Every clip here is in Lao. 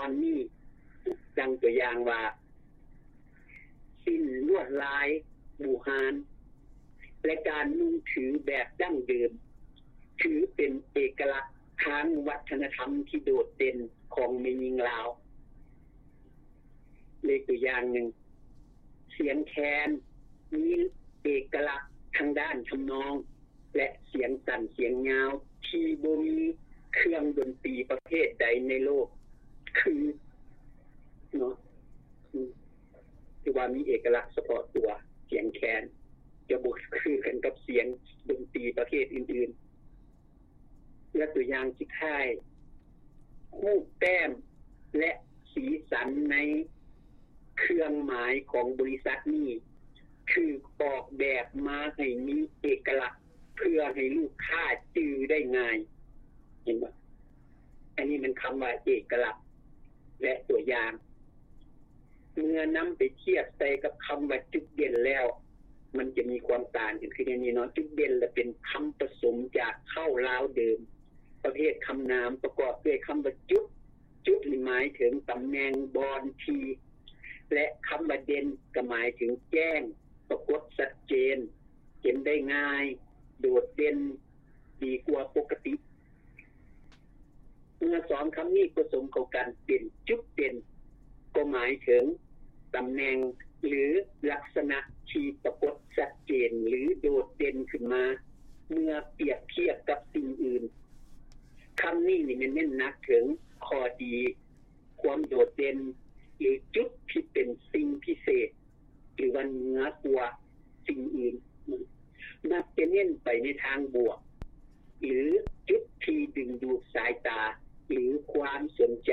ນນີ້ ດັ່ງຕົວຢ່າງວ່າ ສິ້ນລວດລາຍບູຮານ ແລະ ການນຸ່ງຖືແບບດັ້ງເດີມ ຖືເປັນເອກະລັກທາງວັດທະນະທຳທີ່ໂດດເດັ່ນຂອງແມ່ຍິງລາວ. ເລກຕົວຢ່າງໜຶ່ງ, ສຽງແຄນມີເອກະລັກທາງດ້ານທຳນອງ ແລະ ສຽງສັ້ນສຽງຍາວທີ່ບໍ່ມີເຄື່ອງດົນຕີປະເພດໃດໃນໂລກ ຄື ເນາະ ອືມ ຖືວ່າມີເອກະລັກສະເພາະຕົວ. ສຽງແຄນຈະບໍ່ຄືກັນກັບສຽງດົນຕີປະເພດອື່ນໆ. ແລະ ຕົວຢ່າງສຸດທ້າຍ, ຮູບແຕ້ມ ແລະ ສີສັນໃນເຄື່ອງໝາຍຂອງບໍລິສັດນີ້ຖືກອອກແບບມາໃຫ້ມີເອກະລັກ ເພື່ອໃຫ້ລູກຄ້າຈື່ໄດ້ງ່າຍ. ເຫັນບໍ່? ອັນນີ້ແມ່ນຄຳວ່າເອກະລັກ ແລະ ຕົວຢ່າງ. ເມື່ອນຳໄປທຽບໃສ່ກັບຄຳວ່າຈຸດເດັ່ນແລ້ວ, ມັນຈະມີຄວາມຕ່າງກັນຄືແນວນີ້ເນາະ. ຈຸດເດັ່ນລະເປັນຄຳປະສົມຈາກເຄົ້າລາວເດີມ ປະເພດຄຳນາມປະກອບດ້ວຍຄຳວ່າຈຸດ. ຈຸດນີ້ໝາຍເຖິງຕຳແໜ່ງ, ບ່ອນ, ທີ່ ແລະ ຄຳວ່າເດັ່ນກໍໝາຍເຖິງແຈ້ງ, ປາກົດຊັດເຈນ, ເຫັນໄດ້ງ່າຍ, ໂດດເດັ່ນ, ດີກວ່າປົກກະຕິ. ເມື່ອສອງຄຳນີ້ປະສົມເຂົ້າກັນເປັນຈຸດເດັ່ນ ກໍໝາຍເຖິງຕຳແໜ່ງ ຫຼື ລັກສະນະທີ່ປາກົດຊັດເຈນ ຫຼື ໂດດເດັ່ນຂຶ້ນມາ ເມື່ອປຽບທຽບກັບສິ່ງອື່ນ. ຄຳນີ້ນີ້ແມ່ນເນັ້ນໜັກເຖິງຂໍ້ດີ, ຄວາມໂດດເດັ່ນ ຫຼື ຈຸດທີ່ເປັນສິ່ງພິເສດ ຫຼືວ່າເໜືອກວ່າສິ່ງອື່ນ ມັກຈະເນັ້ນໄປໃນທາງບວກ ຫຼື ຈຸດທີ່ດຶງດູດສາຍຕາ ຫຼື ຄວາມສົນໃຈ.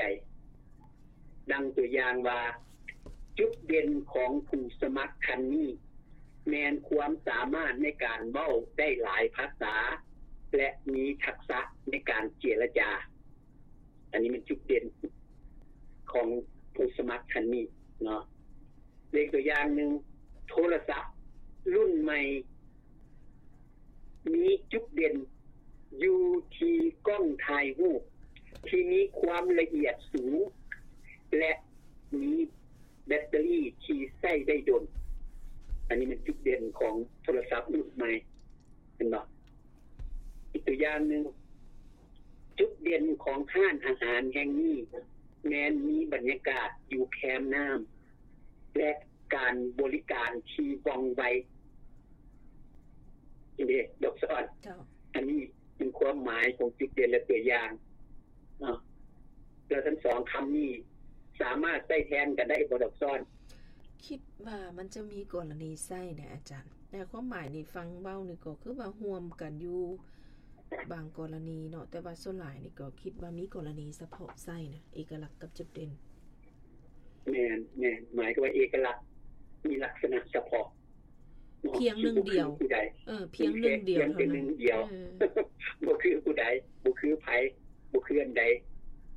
ດັ່ງຕົວຢ່າງວ່າ, ຈຸດເດັ່ນຂອງຜູ້ສະໝັກທ່ານນີ້ ແມ່ນຄວາມສາມາດໃນການເວົ້າໄດ້ຫຼາຍພາສາ ແລະ ມີທັກສະໃນການເຈລະຈາ. ອັນນີ້ແມ່ນຈຸດເດັ່ນຂອງຜູ້ສະໝັກທ່ານນີ້ເນາະ. ເລກຕົວຢ່າງໜຶ່ງ, ໂທລະສັບລຸ້ນໃໝ່ມີຈຸດເດັ່ນຢູ່ທີ່ກ້ອງຖ່າຍຮູບທີ່ມີຄວາມລະອຽດສູງ ແລະ ມີແບັດເຕີຣີທີ່ໃຊ້ໄດ້ດົນ. ອັນນີ້ແມ່ນຈຸດເດັ່ນຂອງໂທລະສັບລຸ້ນໃໝ່ ເຫັນບໍ່? ອີກຕົວຢ່າງໜຶ່ງ, ຈຸດເດັ່ນຂອງຮ້ານອາຫານແຫ່ງນີ້ແມ່ນມີບັນຍາກາດຢູ່ແຄມນ້ຳ ແລະ ການບໍລິການທີ່ວ່ອງໄວ. ເດ້ ດອກສອນ. ເຈົ້າ. ອັນນີ້ເປັນຄວາມໝາຍຂອງຈຸດເດັ່ນ ແລະ ຕົວຢ່າງເນາະ. ແລ້ວທັງສອງຄຳນີ້ສາມາດໃຊ້ແທນກັນໄດ້ບໍ່ ດອກສອນ? ຄິດວ່າມັນຈະມີກໍລະນີໃຊ້ນະອາຈານ. ແຕ່ຄວາມໝາຍນີ້ຟັງເວົ້ານີ້ກໍຄືວ່າຮ່ວມກັນຢູ່ບາງກໍລະນີເນາະ, ແຕ່ວ່າສ່ວນຫຼາຍນີ້ກໍຄິດວ່າມີກໍລະນີສະເພາະໃຊ້ນະ, ເອກະລັກກັບຈຸດເດັ່ນ. ແມ່ນ, ແມ່ນ. ໝາຍຄວາມວ່າເອກະລັກມີລັກສະນະສະເພາະ ພຽງໜຶ່ງດຽວ. ເອີ ພຽງໜຶ່ງດຽວເທົ່ານັ້ນ. ເອີ ບໍ່ຄືຜູ້ໃດ, ບໍ່ຄືໃຜ, ບໍ່ຄືອັນໃດ,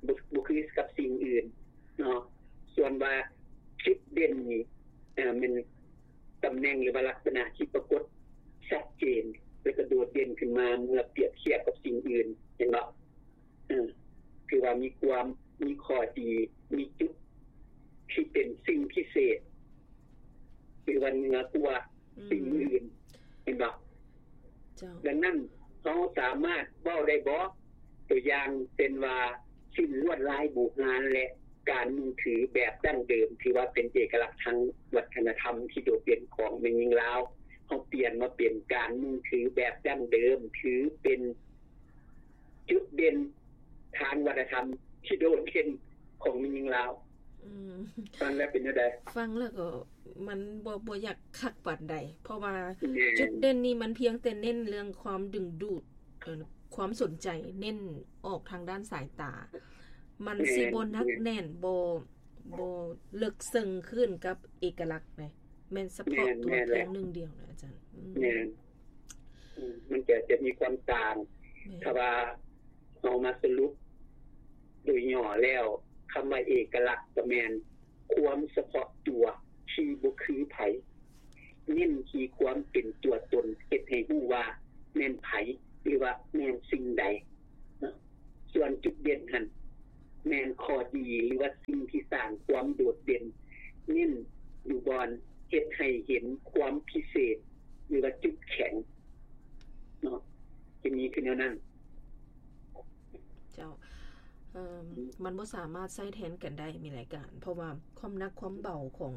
ບໍ່ ບໍ່ຄືກັບສິ່ງອື່ນເນາະ. ສ່ວນວ່າຈຸດເດັ່ນນີ້ ເອີ ແມ່ນຕຳແໜ່ງ ຫຼືວ່າລັກສະນະທີ່ປາກົດຊັດເຈນ ແລະ ກະໂດດເດັ່ນຂຶ້ນມາເມື່ອປຽບທຽບກັບສິ່ງອື່ນ, ເຫັນບໍ່? ເອີ ຄືວ່າມີຄວາມ ມີຂໍ້ດີ, ມີຈຸດທີ່ເປັນສິ່ງພິເສດ ຫຼືວ່າເໜືອກວ່າ ອືມ ສິ່ງອື່ນ, ເຫັນບໍ່? ເຈົ້າ. ດັ່ງນັ້ນ ເຮົາສາມາດເວົ້າໄດ້ບໍ່? ຕົວຢ່າງເຊັ່ນວ່າ ສິ້ນລວດລາຍບູຮານ ແລະ ການນຸ່ງຖືແບບດັ້ງເດີມ ຖືວ່າເປັນເອກະລັກທາງວັດທະນະທຳທີ່ໂດດເດັ່ນຂອງແມ່ຍິງລາວ. ເຮົາປ່ຽນມາເປັນການນຸ່ງຖືແບບດັ້ງເດີມ ຖືເປັນຈຸດເດັ່ນທາງວັດທະນະທຳທີ່ໂດດເດັ່ນຂອງແມ່ຍິງລາວ. ອືມ ຟັງແລ້ວເປັນແນວໃດ? ຟັງແລ້ວກໍມັນບໍ່ ບໍ່ຢາກຄັກປານໃດ ເພາະວ່າ ແມ່ນ ຈຸດເດັ່ນນີ້ມັນພຽງແຕ່ເນັ້ນເລື່ອງຄວາມດຶງດູດ ເອີ ຄວາມສົນໃຈ ເນັ້ນອອກທາງດ້ານສາຍຕາ ມັນ ແມ່ນ ຊິບໍ່ໜັກແໜ້ນ ບໍ່ ບໍ່ເລິກເຊິ່ງຂຶ້ນກັບເອກະລັກໃດ ແມ່ນສະເພາະ ແມ່ນ ຕົວ ແມ່ນແຫຼະ ພຽງໜຶ່ງດຽວນະອາຈານ. ອືມ ແມ່ນ ອືມ ມັນຈະ ຈະມີຄວາມຕ່າງ. ແມ່ນ ຖ້າວ່າເຮົາມາສະຫຼຸບໂດຍຫຍໍ້ແລ້ວ ຄຳວ່າເອກະລັກກໍແມ່ນຄວາມສະເພາະຕົວທີ່ບໍ່ຄືໃຜ ເນັ້ນທີ່ຄວາມເປັນຕົວຕົນ ເຮັດໃຫ້ຮູ້ວ່າແມ່ນໃຜ ຫຼືວ່າແມ່ນສິ່ງໃດ. ສ່ວນຈຸດເດັ່ນຫັ້ນ ແມ່ນຂໍ້ດີ ຫຼືວ່າສິ່ງທີ່ສ້າງຄວາມໂດດເດັ່ນ ເນັ້ນຢູ່ບ່ອນເຮັດໃຫ້ເຫັນຄວາມພິເສດ ຫຼືວ່າຈຸດແຂງເນາະ ຈະມີຄືແນວນັ້ນ. ເຈົ້າ ເອີ່ມ ມັນບໍ່ສາມາດໃຊ້ແທນກັນໄດ້ ມີລາຍການ ເພາະວ່າຄວາມໜັກຄວາມເບົາຂອງ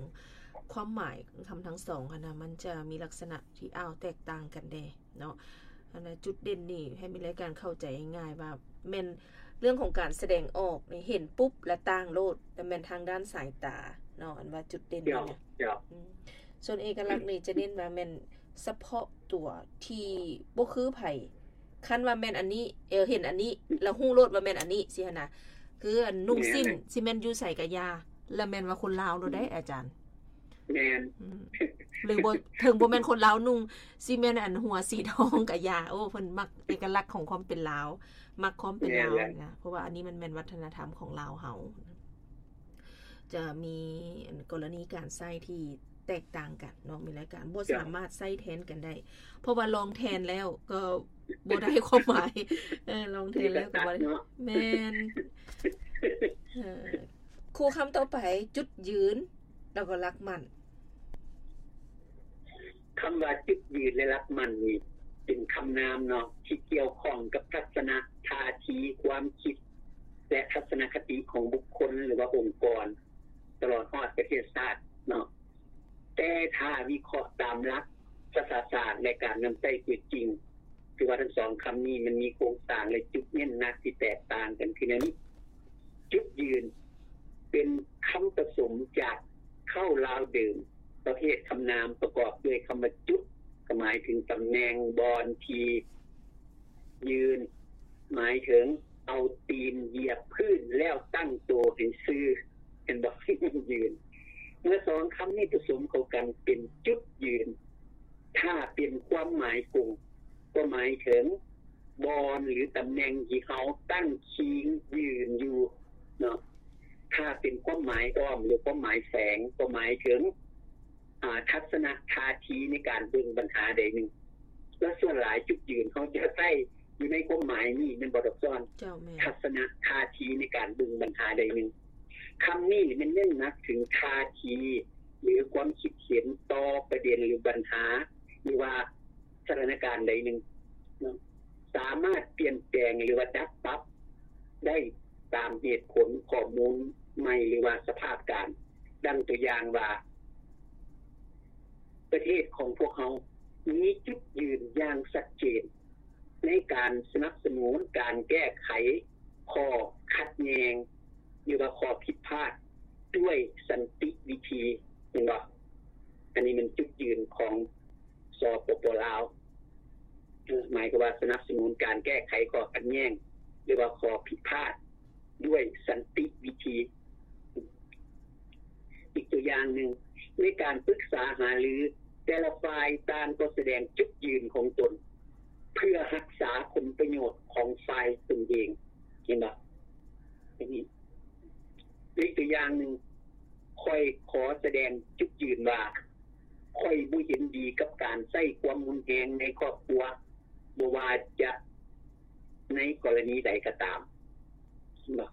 ຄວາມໝາຍຄຳທັງສອງຫັ້ນນະ ມັນຈະມີລັກສະນະທີ່ອ້າວແຕກຕ່າງກັນເດ້ເນາະ. ອັນນັ້ນ ຈຸດເດັ່ນນີ້ໃຫ້ມີລາຍການເຂົ້າໃຈງ່າຍໆວ່າ ແມ່ນເລື່ອງຂອງການສະແດງອອກນີ້ ເຫັນປຸບລະຕ່າງໂລດ ແລະແມ່ນທາງດ້ານສາຍຕາເນາະ ອັນວ່າຈຸດເດັ່ນນີ້ນະ. ເຈົ້າ ເຈົ້າ ອືມ ສ່ວນເອກະລັກນີ້ຈະເນັ້ນວ່າແມ່ນສະເພາະຕົວທີ່ບໍ່ຄືໃຜ ຄັນວ່າແມ່ນອັນນີ້ ເອີ ເຫັນອັນນີ້ ລະຮູ້ໂລດວ່າແມ່ນອັນນີ້ຊີ້ຫັ້ນນະ ຄືອັນນຸ່ງສິ້ນ ແມ່ນ ຊິແມ່ນຢູ່ໃສກະຢ່າ ລະແມ່ນວ່າຄົນລາວໂລດເດ້ ອາຈານ. ແມ່ນ ອືມ ຫຼືບໍ່ ເຖິງບໍ່ແມ່ນຄົນລາວນຸ່ງ ຊິແມ່ນອັນຫົວສີທອງກະຢ່າ ໂອ້ ເພິ່ນມັກເອກະລັກຂອງຄວາມເປັນລາວ ມັກຄວາມເປັນລາວ ແມ່ນແຫຼະ ນະ ເພາະວ່າອັນນີ້ມັນແມ່ນວັດທະນະທຳຂອງລາວເຮົາ ຈະມີອັນກໍລະນີການໃຊ້ທີ່ແຕກຕ່າງກັນເນາະ ມີລາຍການ ບໍ່ ເຈົ້າ ສາມາດໃຊ້ແທນກັນໄດ້ ເພາະວ່າລອງແທນແລ້ວກໍບໍ່ໄດ້ຄວາມໝາຍ ເອີ ລອງແທນແລ້ວກໍບໍ່ໄດ້ ເນາະ ແມ່ນ ເອີ ຄູ່ຄຳຕໍ່ໄປ ຈຸດຢືນ ແລ້ວກໍຫຼັກໝັ້ນ. ຄຳວ່າຈຸດຢືນ ແລະ ຫຼັກໝັ້ນນີ້ ເປັນຄຳນາມເນາະ ທີ່ກ່ຽວຂ້ອງກັບທັດສະນະ ທ່າທີ ຄວາມຄິດ ແລະ ທັດສະນະຄະຕິຂອງບຸກຄົນ ຫຼືວ່າອົງກອນ ຕະຫຼອດຮອດປະເທດຊາດເນາະ. ແຕ່ຖ້າວິເຄາະຕາມຫຼັກສະຖາສາດ ແລະ ການນຳໃຊ້ຕົວຈິງ ຄືວ່າທັງສອງຄຳນີ້ມັນມີໂຄງສ້າງ ແລະ ຈຸດເນັ້ນໜັກທີ່ແຕກຕ່າງກັນຄືແນວນີ້. ຈຸດຢືນ ເປັນຄຳປະສົມຈາກເຄົ້າລາວເດີມ ປະເພດຄຳນາມປະກອບດ້ວຍຄຳວ່າຈຸດ ກໍໝາຍເຖິງຕຳແໜ່ງ ບ່ອນທີ່ຢືນ ໝາຍເຖິງເອົາຕີນຢຽບພື້ນແລ້ວຕັ້ງໂຕໃຫ້ຊື່ ເຫັນບໍ່? ຢືນ. ເມື່ອສອງຄຳນີ້ປະສົມເຂົ້າກັນເປັນຈຸດຢືນ ຖ້າເປັນຄວາມໝາຍກົງ ກໍໝາຍເຖິງບ່ອນ ຫຼື ຕຳແໜ່ງທີ່ເຮົາຕັ້ງຄີງຢືນຢູ່ເນາະ. ຖ້າເປັນຄວາມໝາຍອ້ອມ ຫຼື ຄວາມໝາຍແຝງ ກໍໝາຍເຖິງ ອາ ທັດສະນະທ່າທີໃນການເບິ່ງບັນຫາໃດໜຶ່ງ ແລະ ສ່ວນຫຼາຍຈຸດຢືນເຮົາຈະໃຊ້ຢູ່ໃນຄວາມໝາຍນີ້ ແມ່ນບໍ່ ດອກຊອນ? ເຈົ້າ ແມ່ນ. ທັດສະນະທ່າທີໃນການເບິ່ງບັນຫາໃດໜຶ່ງ. ຄຳນີ້ແມ່ນເນັ້ນໜັກເຖິງທ່າທີ ຫຼື ຄວາມຄິດເຫັນຕໍ່ປະເດັນ ຫຼື ບັນຫາ ຫຼືວ່າສະຖານະການໃດໜຶ່ງເນາະ ສາມາດປ່ຽນແປງ ຫຼືວ່າດັດປັບໄດ້ຕາມເຫດຜົນ, ຂໍ້ມູນໃໝ່ ຫຼືວ່າສະພາບການ. ດັ່ງຕົວຢ່າງວ່າ ປະເທດຂອງພວກເຮົາມີຈຸດຢືນຢ່າງຊັດເຈນ ໃນການສະໜັບສະໜູນການແກ້ໄຂຂໍ້ຂັດແຍ່ງ ຫຼືວ່າຂໍ້ຜິດພາດດ້ວຍສັນຕິວິທີ ແມ່ນບໍ່? ອັນນີ້ແມ່ນຈຸດຢືນຂອງ ສປປ ລາວ ໝາຍຄວາມວ່າສະໜັບສະໜູນການແກ້ໄຂຂໍ້ຂັດແຍ່ງ ຫຼືວ່າຂໍ້ຜິດພາດດ້ວຍສັນຕິວິທີ. ອີກຕົວຢ່າງໜຶ່ງ ໃນການປຶກສາຫາລື ແຕ່ລະຝ່າຍຕ່າງກໍສະແດງຈຸດຢືນຂອງຕົນ ເພື່ອຮັກສາຜົນປະໂຫຍດຂອງຝ່າຍຕົນເອງ ເຫັນບໍ່? ອີກຕົວຢ່າງໜຶ່ງ ຂ້ອຍຂໍສະແດງຈຸດຢືນວ່າ ຂ້ອຍບໍ່ເຫັນດີກັບການໃຊ້ຄວາມຮຸນແຮງໃນຄອບຄົວ ບໍ່ວ່າຈະໃນກໍລະນີໃດກໍຕາມເນາະ.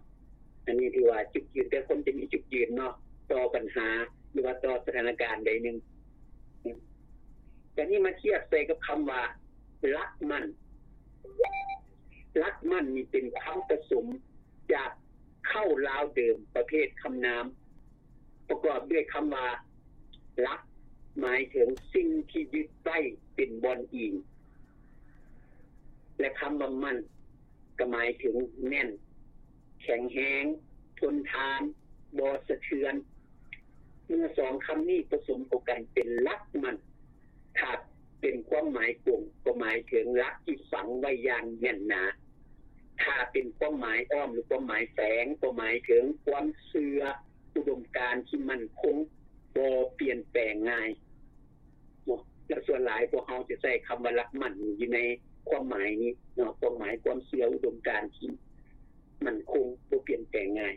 ອັນນີ້ຖືວ່າຈຸດຢືນ ແຕ່ຄົນຈະມີຈຸດຢືນເນາະ ຕໍ່ບັນຫາ ຫຼືວ່າຕໍ່ສະຖານະການໃດໜຶ່ງ. ແຕ່ນີ້ມາທຽບໃສ່ກັບຄຳວ່າ ຫຼັກໝັ້ນ. ຫຼັກໝັ້ນນີ້ເປັນຄຳປະສົມຈາກເຄົ້າລາວເດີມປະເພດຄຳນາມ ປະກອບດ້ວຍຄຳວ່າ ຫຼັກ ໝາຍເຖິງສິ່ງທີ່ຍຶດໄວ້ເປັນບ່ອນອີງ ແລະ ຄຳວ່າໝັ້ນ ກໍໝາຍເຖິງແໜ້ນ, ແຂງແຮງ, ທົນທານ, ບໍ່ສະເທືອນ. ເມື່ອສອງຄຳນີ້ປະສົມເຂົ້າກັນເປັນຫຼັກໝັ້ນ, ຖ້າເປັນຄວາມໝາຍກົງກໍໝາຍເຖິງຫຼັກທີ່ຝັງໄວ້ຢ່າງແໜ້ນໜາ, ຖ້າເປັນຄວາມໝາຍອ້ອມ ຫຼື ຄວາມໝາຍແຝງ ກໍໝາຍເຖິງຄວາມເຊື່ອ ອຸດົມການທີ່ໝັ້ນຄົງ ບໍ່ປ່ຽນແປງງ່າຍເນາະ. ແລະ ສ່ວນຫຼາຍພວກເຮົາຈະໃຊ້ຄຳວ່າຫຼັກໝັ້ນຢູ່ໃນຄວາມໝາຍນີ້ເນາະ, ຄວາມໝາຍຄວາມເຊື່ອ ອຸດົມການທີ່ໝັ້ນຄົງ ບໍ່ປ່ຽນແປງງ່າຍ.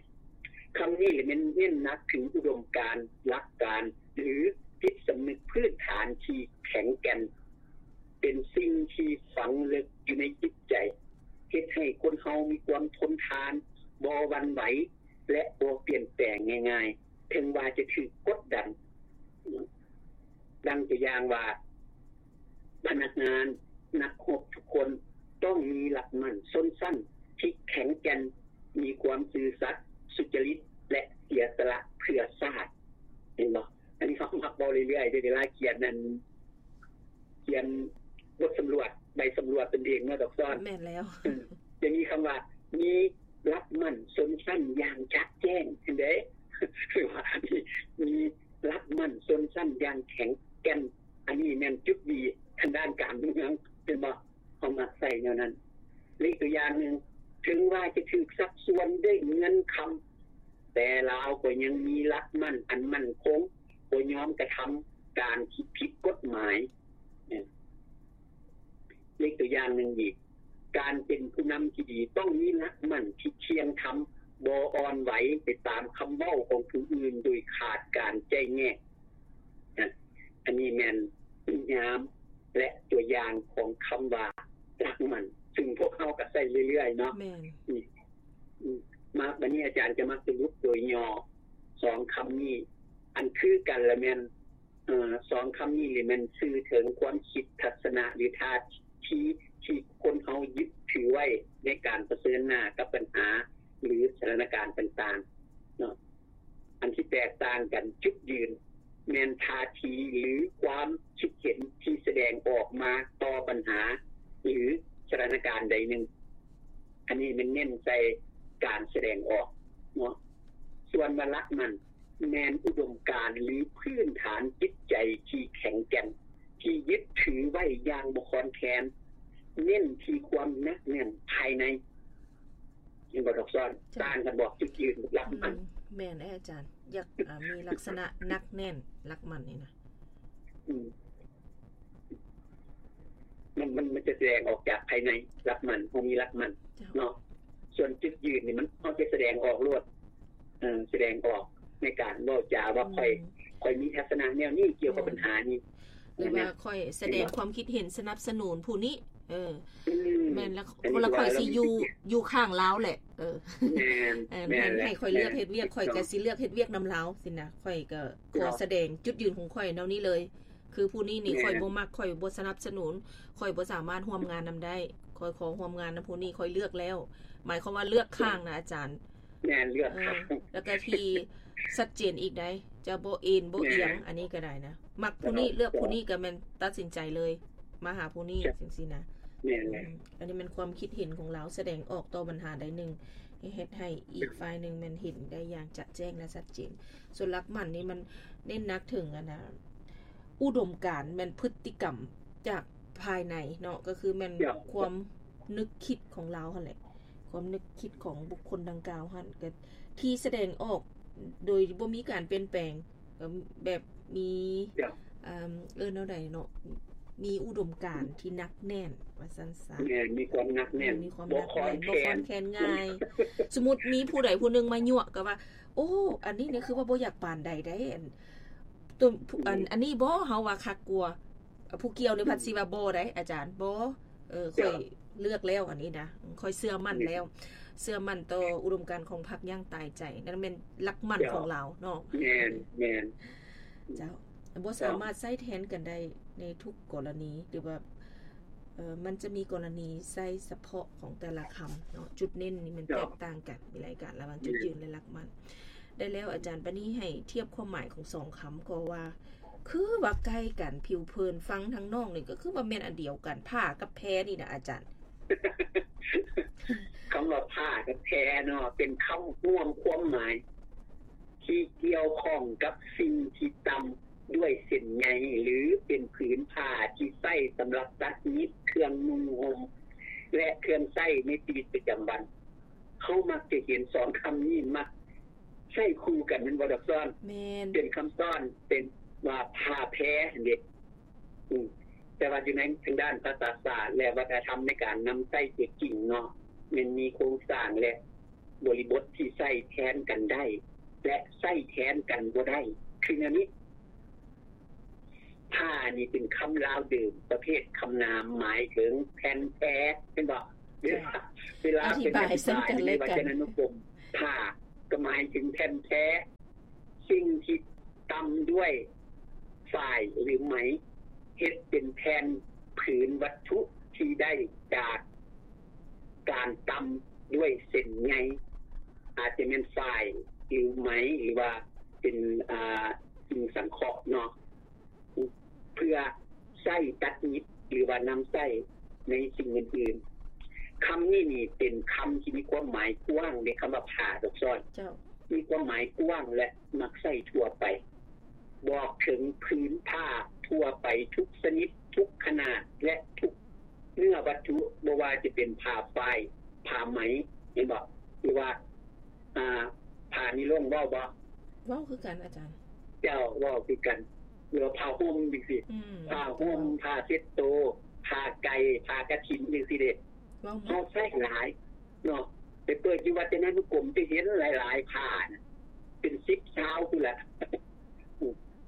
ຄຳນີ້ແມ່ນເນັ້ນໜັກເຖິງອຸດົມການ, ຫຼັກການ ຫຼື ຈິດສຳນຶກພື້ນຖານທີ່ແຂງແກ່ນ, ເປັນສິ່ງທີ່ຝັງເລິກຢູ່ໃນຈິດໃຈ, ເຮັດໃຫ້ຄົນເຮົາມີຄວາມທົນທານ, ບໍ່ຫວັ່ນໄຫວ ແລະ ບໍ່ປ່ຽນແປງງ່າຍໆ ເຖິງວ່າຈະຖືກກົດດັນ. ດັ່ງຕົວຢ່າງວ່າ ພະນັກງານ ນັກຮົບທຸກຄົນຕ້ອງມີຫຼັກໝັ້ນຊົນຊັ້ນທີ່ແຂງແກ່ນ, ມີຄວາມຊື່ສັດ, ສຸຈະລິດ ແລະ ເສຍສະຫຼະເພື່ອຊາດ. ເຫັນບໍ່? ອັນນີ້ເຮົາມັກເວົ້າເລື້ອຍໆເດ້ ເວລາຂຽນນັ້ນ ຂຽນບົດສຳຫຼວດ ໃບສຳຫຼວດຕົນເອງເນາະ ດອກຊອນ. ແມ່ນແລ້ວ. ອືມ ຈະມີຄຳວ່າ ມີຫຼັກໝັ້ນຊົນຊັ້ນຢ່າງຈະແຈ້ງ ເຫັນເດ້ ຫຼືວ່າ ມີ ມີຫຼັກໝັ້ນຊົນຊັ້ນຢ່າງແຂງແກ່ນ. ອັນນີ້ແມ່ນຈຸດດີທາງດ້ານການເມືອງ ເຫັນບໍ່? ເຮົາມັກໃຊ້ແນວນັ້ນ. ເລກຕົວຢ່າງໜຶ່ງ, ເຖິງວ່າຈະຖືກຊັກຊວນດ້ວຍເງິນຄຳ, ແຕ່ລາວກໍຍັງມີຫຼັກໝັ້ນອັນໝັ້ນຄົງ, ບໍ່ຍອມກະທຳການທີ່ຜິດກົດໝາຍ. ເອີ ເລກຕົວຢ່າງໜຶ່ງອີກ, ການເປັນຜູ້ນຳທີ່ດີຕ້ອງມີຫຼັກໝັ້ນທີ່ທ່ຽງທຳ, ບໍ່ອ່ອນໄຫວໄປຕາມຄຳເວົ້າຂອງຜູ້ອື່ນໂດຍຂາດການແຈກແຍກ. ນະ ອັນນີ້ແມ່ນນິຍາມ ແລະ ຕົວຢ່າງຂອງຄຳວ່າຫຼັກໝັ້ນ ຊຶ່ງພວກເຮົາກໍໃຊ້ເລື້ອຍໆເນາະ. ແມ່ນ. ອືມ ອືມ ມາ ບັດນີ້ອາຈານຈະມາສະຫຼຸບໂດຍຫຍໍ້ສອງຄຳນີ້ ອັນຄືກັນລະແມ່ນ ເອີ ສອງຄຳນີ້ລະແມ່ນສື່ເຖິງຄວາມຄິດ, ທັດສະນະ ຫຼື ທ່າທີທີ່ຄົນເຮົາຍຶດຖືໄວ້ໃນການປະເຊີນໜ້າກັບບັນຫາ ຫຼື ສະຖານະການຕ່າງໆເນາະ. ອັນທີ່ແຕກຕ່າງກັນຈຸດຢືນ ແມ່ນທ່າທີ ຫຼື ຄວາມຄິດເຫັນທີ່ສະແດງອອກມາຕໍ່ບັນຫາ ຫຼື ສະຖານະການໃດໜຶ່ງ. ອັນນີ້ແມ່ນເນັ້ນໃສ່ການສະແດງອອກເນາະ. ສ່ວນວ່າຫຼັກໝັ້ນ ແມ່ນອຸດົມການ ຫຼື ພື້ນຖານຈິດໃຈທີ່ແຂງແກ່ນ ທີ່ຍຶດຖືໄວ້ຢ່າງບໍ່ຄອນແຄນ, ເນັ້ນທີ່ຄວາມໜັກແໜ້ນພາຍໃນ. ເຫັນບໍ່ ດອກຊອນ? ເຈົ້າ. ຕ່າງກັນບໍ່? ຈຸດຢືນຫຼັກໝັ້ນ. ອືມ ແມ່ນເດ້ອາຈານ. ຢາກ ອ່າ ມີລັກສະນະໜັກແໜ້ນ, ຫຼັກໝັ້ນນີ້ນະ. ອືມ ມັນ ມັນ ມັນຈະສະແດງອອກຈາກພາຍໃນ, ຫຼັກໝັ້ນ, ເຮົາມີຫຼັກໝັ້ນ ເຈົ້າ ເນາະ. ສ່ວນຈຸດຢືນນີ້ ມັນ ເຮົາຈະສະແດງອອກໂລດ, ເອີ ສະແດງອອກໃນການເວົ້າຈາວ່າ ອືມ ຂ້ອຍ ຂ້ອຍມີທັດສະນະແນວນີ້ກ່ຽວກັບ ແມ່ນ ບັນຫານີ້ ຫຼືວ່າ ນະ ຂ້ອຍສະແດງຄວາມຄິດເຫັນສະໜັບສະໜູນຜູ້ນີ້. ເອີ ອືມ ແມ່ນລະ. ແລ້ວຂ້ອຍຊິຢູ່ ຢູ່ຂ້າງລາວແຫຼະ. ເອີ ແມ່ນ ເອີ ແມ່ນ ໃຫ້ ໃຫ້ຂ້ອຍເລືອກເຮັດວຽກ ຂ້ອຍກໍຊິເລືອກເຮັດວຽກນຳລາວຊີ້ນະ. ຂ້ອຍກໍຂໍສະແດງຈຸດຢືນຂອງຂ້ອຍແນວນີ້ເລີຍ. ຄືຜູ້ນີ້ນີ້ ແມ່ນ ຂ້ອຍບໍ່ມັກ, ຂ້ອຍບໍ່ສະໜັບສະໜູນ, ຂ້ອຍບໍ່ສາມາດຮ່ວມງານນຳໄດ້. ຂ້ອຍຂໍຮ່ວມງານນຳຜູ້ນີ້, ຂ້ອຍເລືອກແລ້ວ. ໝາຍຄວາມວ່າເລືອກຂ້າງນະອາຈານ. ແມ່ນ ເລືອກ ເອີ ຂ້າງ ແລ້ວກໍທີ່ຊັດເຈນອີກໃດ໋, ຈະບໍ່ເອນບໍ່ອຽງ. ແມ່ນ ອັນນີ້ກໍໄດ້ນະ, ມັກຜູ້ນີ້ ເລືອກຜູ້ນີ້ກໍແມ່ນຕັດສິນໃຈເລີຍ ມາຫາຜູ້ນີ້ ຈັ່ງຊີ້ນະ. ແມ່ນແຫຼະ. ອືມ ອັນນີ້ແມ່ນຄວາມຄິດເຫັນຂອງລາວ ສະແດງອອກຕໍ່ບັນຫາໃດໜຶ່ງ ເຮັດໃຫ້ອີກຝ່າຍໜຶ່ງແມ່ນເຫັນໄດ້ຢ່າງຈະແຈ້ງ ແລະ ຊັດເຈນ. ສ່ວນຫຼັກໝັ້ນນີ້ມັນເນັ້ນໜັກເຖິງ ອັນນະ ອຸດົມການ ແມ່ນພຶດຕິກຳຈາກພາຍໃນເນາະ, ກໍຄືແມ່ນ ເຈົ້າ ຄວາມນຶກຄິດຂອງລາວຫັ້ນແຫຼະ, ຄວາມນຶກຄິດຂອງບຸກຄົນດັ່ງກ່າວຫັ້ນ ກໍທີ່ສະແດງອອກໂດຍບໍ່ມີການປ່ຽນແປງ, ກໍແບບມີ ເຈົ້າ ເອີ້ນແນວໃດເນາະ, ມີອຸດົມການທີ່ໜັກແໜ້ນວ່າຊັ້ນຊະ. ແມ່ນ ມີຄວາມໜັກແໜ້ນ. ເອີ ມີຄວາມໜັກແໜ້ນ ບໍ່ຄອນແຄນ ບໍ່ຄອນແຄນງ່າຍ. ສົມມຸດມີຜູ້ໃດຜູ້ໜຶ່ງມາຍົວະກໍວ່າ ໂອ້ ອັນນີ້ນີ້ຄືວ່າບໍ່ຢາກປານໃດໃດ໋ ອັນ ຕົວ ອືມ ອັນ ອັນນີ້ບໍ່ ເຮົາວ່າຄັກກວ່າ. ຜູ້ກ່ຽວນີ້ ອືມ ພັດຊິວ່າບໍ່ໃດ໋ອາຈານ, ບໍ່ ເອີ ຂ້ອຍເລືອກແລ້ວອັນນີ້ນະ, ຂ້ອຍເຊື່ອໝັ້ນແລ້ວ ເຊື່ອໝັ້ນຕໍ່ອຸດົມການຂອງພັກຢ່າງຕາຍໃຈ. ນັ້ນແມ່ນຫຼັກໝັ້ນຂອງລາວເນາະ. ແມ່ນ ແມ່ນ. ເຈົ້າ ບໍ່ສາມາດໃຊ້ແທນກັນໄດ້ໃນທຸກກໍລະນີ ຫຼືວ່າ ເອີ ມັນຈະມີກໍລະນີໃຊ້ສະເພາະຂອງແຕ່ລະຄຳເນາະ, ຈຸດເນັ້ນນີ້ມັນແຕກຕ່າງກັນ ມີຫຼາຍການລະຫວ່າງຈຸດຢືນ ແລະ ຫຼັກໝັ້ນ. ໄດ້ແລ້ວອາຈານ, ບາດນີ້ໃຫ້ທຽບຄວາມໝາຍຂອງສອງຄຳກໍວ່າ ຄືວ່າໃກ້ກັນ, ຜິວເຜິນຟັງທາງນອກນີ້ກໍຄືວ່າແມ່ນອັນດຽວກັນ, ຜ້າກັບແພນີ້ນະອາຈານ. ຄຳວ່າຜ້າກັບແພເນາະ ເປັນຄຳລວມຄວາມໝາຍ ທີ່ກ່ຽວຂ້ອງກັບສິ່ງທີ່ຕ່ຳດ້ວຍເສັ້ນໃຍ ຫຼື ເປັນຜືນຜ້າທີ່ໃຊ້ສຳລັບຕັດຫຍິບເຄື່ອງນຸ່ງຫົ່ມ ແລະ ເຄື່ອງໃຊ້ໃນຊີວິດປະຈຳວັນ. ເຮົາມັກຈະເຫັນສອງຄຳນີ້ມັກໃຊ້ຄູ່ກັນ ແມ່ນບໍ່ ດອກຊອນ? ແມ່ນ. ເປັນຄຳຊ້ອນ ເປັນວ່າຜ້າແພຫັ້ນເດ. ອືມ ແຕ່ວ່າຢູ່ໃນທາງດ້ານພາສາສາດ ແລະ ວັດທະນະທຳໃນການນຳໃຊ້ຕົວຈິງເນາະ ແມ່ນມີໂຄງສ້າງ ແລະ ບໍລິບົດທີ່ໃຊ້ແທນກັນໄດ້ ແລະ ໃຊ້ແທນກັນບໍ່ໄດ້ ຄືແນວນີ້. ຜ້ານີ້ເປັນຄຳລາວເດີມ ປະເພດຄຳນາມ ໝາຍເຖິງແຜ່ນແພ ແມ່ນບໍ່? ເວລາ ເວລາເປັນອະທິບາຍ ອະທິບາຍໃນວັດຈະນານຸກົມ ຜ້າກໍໝາຍເຖິງແຜ່ນແພ ສິ່ງທີ່ຕ່ຳດ້ວຍຝ້າຍ ຫຼື ໄໝ ເຮັດເປັນແຜ່ນຜືນວັດຖຸທີ່ໄດ້ຈາກການຕ່ຳດ້ວຍເສັ້ນໃຍ ອາດຈະແມ່ນຝ້າຍ ຫຼື ໄໝ ຫຼືວ່າເປັນ ອ່າ ສິ່ງສັງເຄາະເນາະ ເພື່ອໃຊ້ຕັດຫຍິບ ຫຼືວ່ານຳໃຊ້ໃນສິ່ງອື່ນໆ. ຄຳນີ້ນີ້ເປັນຄຳທີ່ມີຄວາມໝາຍກວ້າງເດ້ ຄຳວ່າຜ້າ ດອກຊອນ ເຈົ້າ ມີຄວາມໝາຍກວ້າງ ແລະ ມັກໃຊ້ທົ່ວໄປ ບອກເຖິງຜືນຜ້າທົ່ວໄປທຸກຊະນິດ, ທຸກຂະໜາດ ແລະ ທຸກເນື້ອວັດຖຸ, ບໍ່ວ່າຈະເປັນຜ້າຝ້າຍ, ຜ້າໄໝ, ເຫັນບໍ່? ຫຼືວ່າ ອ່າ ຜ້ານີລົງ ເວົ້າບໍ່? ເວົ້າຄືກັນອາຈານ. ເຈົ້າ ເວົ້າຄືກັນ. ຫຼືວ່າຜ້າຫົ່ມຈັ່ງຊີ້. ອືມ ຜ້າຫົ່ມ, ເຈົ້າ ຜ້າເຊັດໂຕ, ຜ້າໄກ່, ຜ້າກະຖິນຈັ່ງຊີ້ເດ້. ເວົ້າໝົດ. ເຮົາໃຊ້ຫຼາຍເນາະ. ໄປເປີດຢູ່ວັດຈະນານຸກົມ ຈະເຫັນຫຼາຍໆຜ້ານະ ເປັນສິບຊາວພຸ້ນລະ.